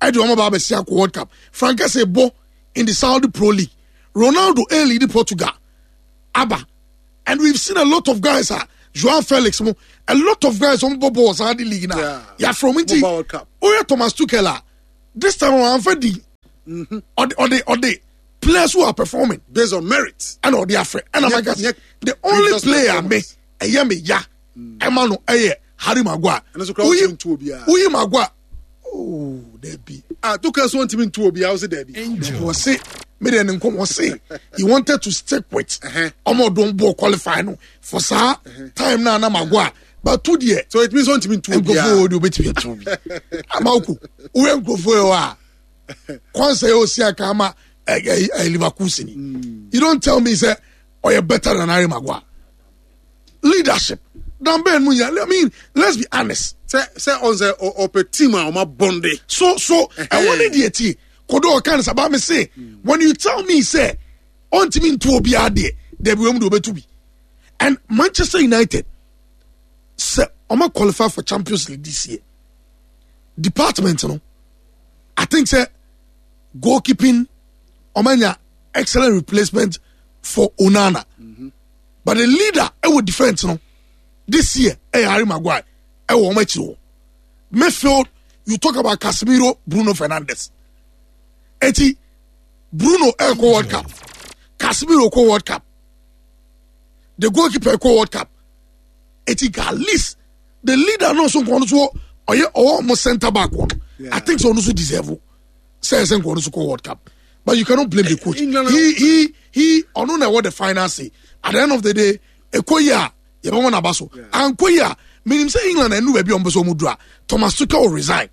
Speaker 10: ɛde wɔn aba abɛsi akɔ World Cup. Frank Kessie bɔ in the Saudi Pro League. Ronaldo ɛlead Portugal aba, and we've seen a lot of guys ah, Joao Felix mo, a lot of guys on bɔ bɔɔl Saudi league na yàfrɛ wɔn nti oyɛ Thomas Tuchel a this time wɔn anfa di ɔde ɔde ɔde players who are performing
Speaker 2: based on merit
Speaker 10: ɛna ɔde afrɛ ɛna maka the only player me ɛyɛ me ya ɛma no ɛyɛ Harry Maguire. Woyi woyi Maguire, oh dabi.
Speaker 2: Ah, Tuchel so ntumi ntu obiara, ɔsi dabi.
Speaker 10: Wɔsi mi de ne nkɔm, wɔsi he wanted to stick with ɔmo ɔdɔn ball qualify no for saa time na na Maguire, but two deɛ.
Speaker 2: So it means ɔntumi ntu obiara.
Speaker 10: Nkurɔfoɔ wo de obetumi atu obi amawuko woyɛ nkurɔfoɔ yɛ hɔ a kwansa yɛ osi aka ama ɛ ɛ Leverkusen ni, you don't tell me say ɔyɛ better than Harry Maguire. Leadership dan bɛn mu yɛ? I mean, let's be honest.
Speaker 2: Sɛ sɛ ɔn sɛ ɔpɛ team a ɔma bɔnde.
Speaker 10: So so ɛwɔ ne deɛ tie kodo ɔka ne saba mi se when you tell me say ɔntumi ntu obiara deɛ, dɛbi, wɔn mu de obetu bi. And Manchester United sɛ ɔma qualify for Champions League this year, department no, I think sɛ goalkeeping ɔma nya excellent replacement for Onana. Mm -hmm. But the leader ɛwɔ defence no this year ɛyɛ Harry Maguire. Ɛwɔ wɔn akyi hɔ midfield, you talk about Casemiro, Bruno Fernandes. Eti Bruno ɛkɔ World Cup, Casemiro kɔ World Cup, the goalkeeper kɔ World Cup. Eti at least the leader no nso nkɔn so ɔyɛ ɔwɔ ɔmo centre back wɔ no, I think so ɔno nso deserve sɛ ɛsɛ nkɔn so kɔ World Cup. But you cannot blame the coach. he he he ɔno na ɛwɔ the final say. At the end of the day, ɛkɔ yi a yɛbɛwɔ n'aba so, ankɔ yi a menim sɛ England ɛnu baabi a ɔmo pɛ sɛ ɔmo duru a, Thomas Tuchel will resign.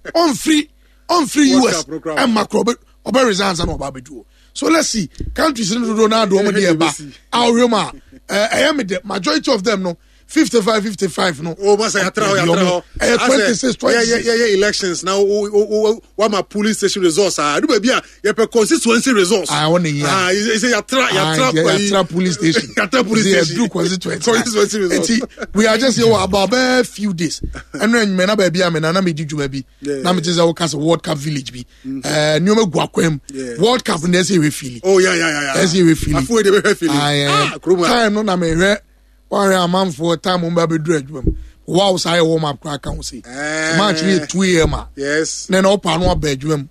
Speaker 10: Ɔnfiri ɔnfiri U S ɛmma korɔ, ɔbɛ ɔbɛ resign ansa na ɔba abɛdu o. So let's see. Countries no dodoɔ naa de ɔmo deɛ ɛba a ɔhwɛ mu a ɛyɛ mi dɛ majority of them no fifty five fifty five no.
Speaker 2: O ma sɛ yàtara hɔ, yàtara hɔ.
Speaker 10: Ɛyɛ twenty six twenty six.
Speaker 2: Yɛ yɛ elections na o o o wama polling station results a ɛdu baabi a yɛpɛ constituency results.
Speaker 10: Ah, wɔn ni yia.
Speaker 2: Ah, sɛ yàtara yàtara.
Speaker 10: Yàtara polling station.
Speaker 2: Yàtara polling station.
Speaker 10: Yɛduru constituency.
Speaker 2: Constituency results.
Speaker 10: Eti we are just here about bɛɛ few days. Ɛnu ɛnyimɛ na baabi a mɛ na na mi di dwuma bi na mi ti sɛ wɔka sɛ World Cup village bi ɛɛ nneɛma gu akwan mu. World Cup na ɛsɛ ehwɛ fili.
Speaker 2: Oh yeah yeah yeah.
Speaker 10: Ɛsɛ ehwɛ fili.
Speaker 2: Afuwe de bɛ hwɛ fili.
Speaker 10: Ah, kurom time no na mɛ hwɛ wɔahwɛ amanfoɔ time wɔn bɛ abɛduru adwuma mu. Wow, saa yɛ warm up koraa ka ho se match no yɛ two a m a
Speaker 2: yes
Speaker 10: na na ɔpa ano aba adwuma mu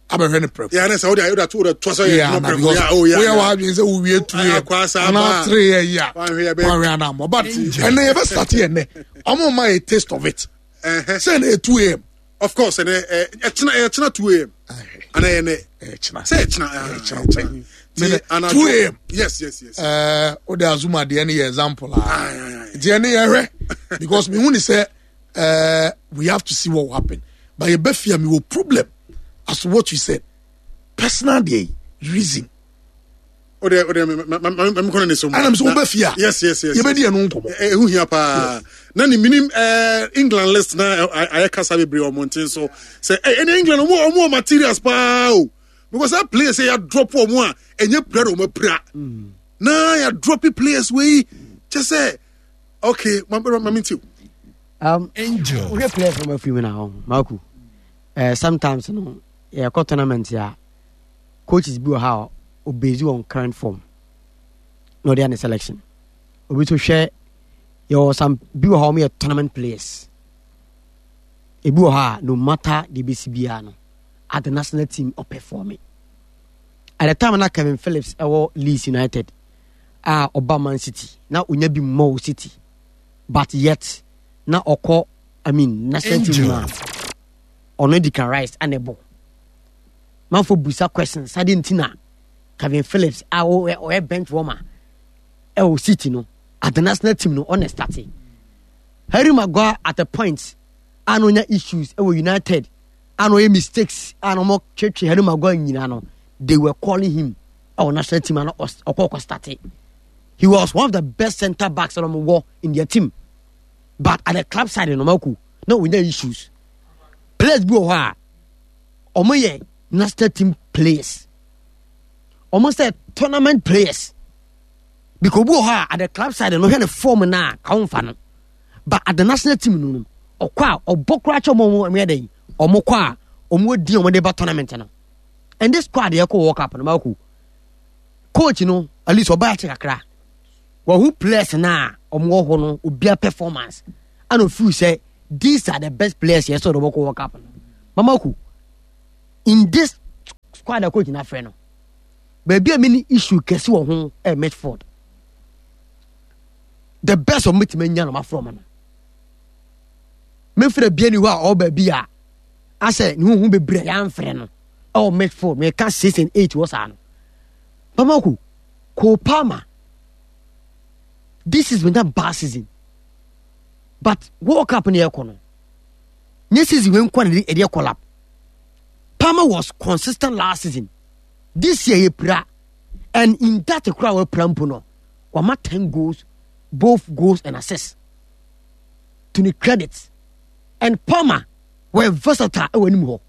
Speaker 10: abɛhwɛ ne prɛko.
Speaker 2: Yà ne sɛ o de o de o de to so yɛ
Speaker 10: adwuma prɛko ya o ya. Woyɛ w'adwene sɛ wowie two a m anaa three a yi a wahwɛ anamɔ, but ɛnɛ yɛbɛ start yɛ nɛ ɔmo ma yɛ taste of it sɛ ɛnɛ yɛ two a m.
Speaker 2: Of course, ɛnɛ ɛkyina ɛkyina two a m ana yɛ nɛ
Speaker 10: ɛkyina
Speaker 2: sɛ ɛkyina
Speaker 10: ɛkyina ɛkyina two a m.
Speaker 2: yes yes yes.
Speaker 10: Ɛɛ o de azuma deɛ ne yɛ example a deɛ ne yɛ hwɛ because mi hu ni sɛ ɛɛ we have to see what will happen, but yɛ bɛ fia mi wɔ problem as to what you said, personal deɛ reason.
Speaker 2: O de o de ma ma ma mi kɔnɔ ne so mu.
Speaker 10: Ɛna mi sɛ o bɛ fia.
Speaker 2: yes yes yes
Speaker 10: yɛ bɛ di ɛnu nkɔmɔ.
Speaker 2: Ehu hia paa na ne minim ɛɛ England list na ayɛ kasa bebree ɔmɔnten so sɛ ɛ ɛne England ɔmo ɔmo wɔ materials paa o, because that players yɛ yɛ drop ɔmo a ɛnyɛ pira na ɔmo apira na yɛ drop players wei kyɛ sɛ okay, ma ma ma mi ti o.
Speaker 11: Um,
Speaker 8: Angel.
Speaker 11: Wohwɛ players no mafiri mu na hɔ maku uh, sometimes no yɛkɔ tournament a coaches bi wɔ ha a obase on current form na ɔde ayɛ ne selection. Obi nso hwɛ yɛwɔ some bi wɔ hɔ a wɔyɛ tournament players. Ebi wɔ hɔ a no matter deɛ ebesi biara no at the national team ɔperform. At the time na Kevin Phillips ɛwɔ Leeds United a ɔba Man City na onya bi mmɔ wɔ City, but yet na ɔkɔ, I mean, national team mu a ɔno Declan Rice ana ɛbɔ. Manfo busa questions sade nti na Kevin Phillips a ɔyɛ ɔyɛ bench warmer ɛwɔ City no, at the national team no ɔna start. Harry Maguire at a point a na ɔnya issues ɛwɔ United a na ɔyɛ mistakes a na ɔmo twetwe Harry Maguire nyinaa no, they were calling him ɛwɔ national team a na ɔkɔ ɔkɔ start. He was one of the best centre backs na ɔmo wɔ in their team, but at the club side no mako na ɔnya issues. Players bi wɔ hɔ a ɔmo yɛ national team players, ɔmo sɛ tournament players, because obi wɔ hɔ a at the club side no, hwɛ ne form na ka wo nfa no, but at the national team no no ɔkɔ a ɔbɔ koraa kyɛ ɔmo. Ɔmo yɛ dɛ ɔmo kɔ a ɔmo di ɔmo de ba tournament no. And this squad yɛ kɔ World Cup no, maako coach no at least ɔbaa kyɛ kakra wɔho players na ɔmo wɔ hɔ no, obia performance ana ofeel sɛ these are the best players yɛ sɛ ɔde ɔmo kɔ World Cup no. Mamako in this squad a coach na frɛ no, baabi a mi ni issue kɛse wɔ ho ɛ midfield. The best ɔmo betumi anya na ɔmo afrɛ ɔmo no, mefrɛ bia ni hɔ a ɔwɔ baabi a asɛ ne ho ho bebree a yɛamfrɛ no ɛwɔ midfield. Meka six and eight wɔ saa no. Bamako, Cole Palmer, this has been that bad season, but World Cup ne yɛkɔ no, nye season wei nkɔ na ɛde ɛkɔ lap. Palmer was consistent last season. This year yɛ pira, and in that kora wapira mpo no, wama ten goals, both goals and assists, to the credit. And Palmer were versatile ɛwɔ anim hɔ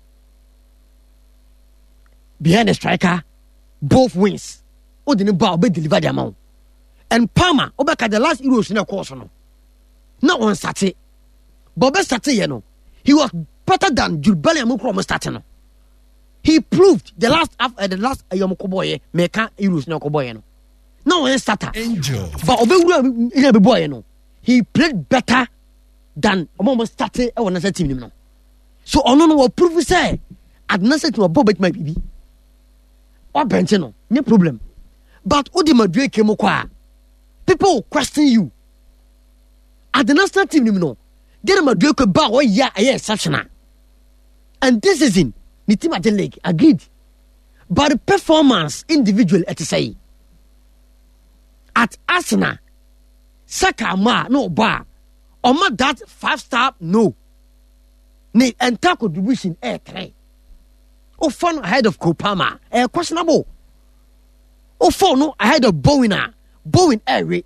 Speaker 11: behind the striker, both wings. O de ne ba ɔbɛ deliver de ama wo. And Palmer, ɔbɛka the last Euros na ɛkɔɔ so no na ɔn start, but ɔbɛ start yɛ no, he was better than Jude Bellingham kura ɔmo start no. He proved the last uh, the last ɛyɛ ɔmo kɔ bɔɔyɛ, mɛka Euros na ɔkɔ bɔɔyɛ no na ɔyɛ starter, but ɔbɛwura ɛna bɛ bɔɔyɛ no, he played better than ɔmo ɔmo start ɛwɔ national team nim no. So ɔno no wɔ prove sɛ at national team ɔbɔ bɛtuma bibi wabɛnte no nye problem. But o de Madueke mu kɔ a, people will question you at the national team nim no. Gere Madueke ba a ɔyɛ a ɛyɛ exceptional, and this season ne team agye league, agreed, but the performance individual ɛte sɛ yi at Arsenal, Saka ama a na ɔbɔ a ɔma that five star no, ne entire contribution ɛyɛ three. Ofa no ahead of Cole Palmer, ɛyɛ questionable. Ofa no ahead of Bowen a, Bowen ɛɛwe,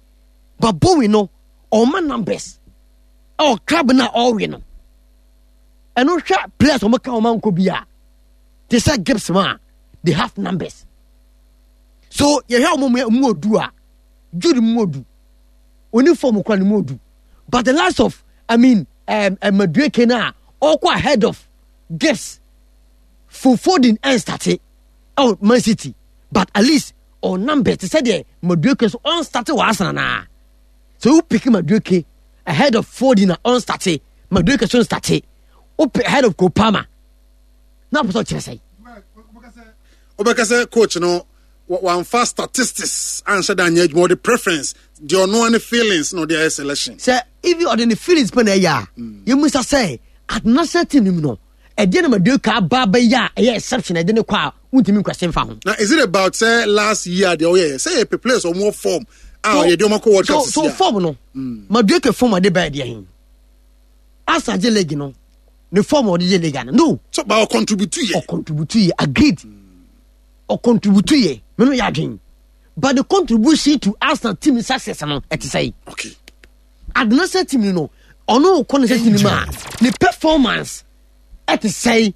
Speaker 11: but Bowen no ɔma numbers ɛwɔ club na ɔwe no. Ɛno hwɛ players wɔn ka wɔn ankɔ bi a te sɛ Gibbs ma they have numbers. So yɛhwɛ wɔn mu odu a, Jude mu odu oni form kura ne mu odu, but the last of, I mean, um, um, Madueke na ɔkɔ ahead of Gibbs, Foden ɛn start ɛwɔ Man City, but at least ɔ numbers te sɛ deɛ Madueke so ɔn start wɔ Arsenal naa. So you pick Madueke ahead of Foden na ɔn start, Madueke so start, o pick ahead of Cole Palmer na pɛ sɛ ɔkyerɛ sɛ
Speaker 2: Wobɛka sɛ coach no wamfa statistics anhyɛ da anyɛ adwuma, ɔde preference deɛ ɔno ne feelings na ɔde ayɛ selection.
Speaker 11: Sɛ even ɔde ne feelings pɛ na ɛyɛ a, yɛmusa sɛ at national team no mu no, ɛdeɛ na Madueke aba bɛyɛ a ɛyɛ exception ɛde ne kɔ a wontumi nkwɛse mfa ho?
Speaker 2: Na is it about sɛ last year deɛ ɔyɛ sɛ yɛpɛ players ɔmo form a yɛde ɔmo akɔ World Cup?
Speaker 11: So so form no, Madueke form ɔde bɛyɛ deɛ he asa gye league no, ne form ɔde gye league ano no.
Speaker 2: So ba ɔcontribute yɛ.
Speaker 11: Ɔcontribute yɛ, agreed, ɔcontribute yɛ, meno yɛ adwen, but the contribution to Arsenal team success no ɛte sɛ yi
Speaker 2: okay
Speaker 11: at the national team no, ɔno kɔ ne sɛ team mu a, ne performance ɛte sɛ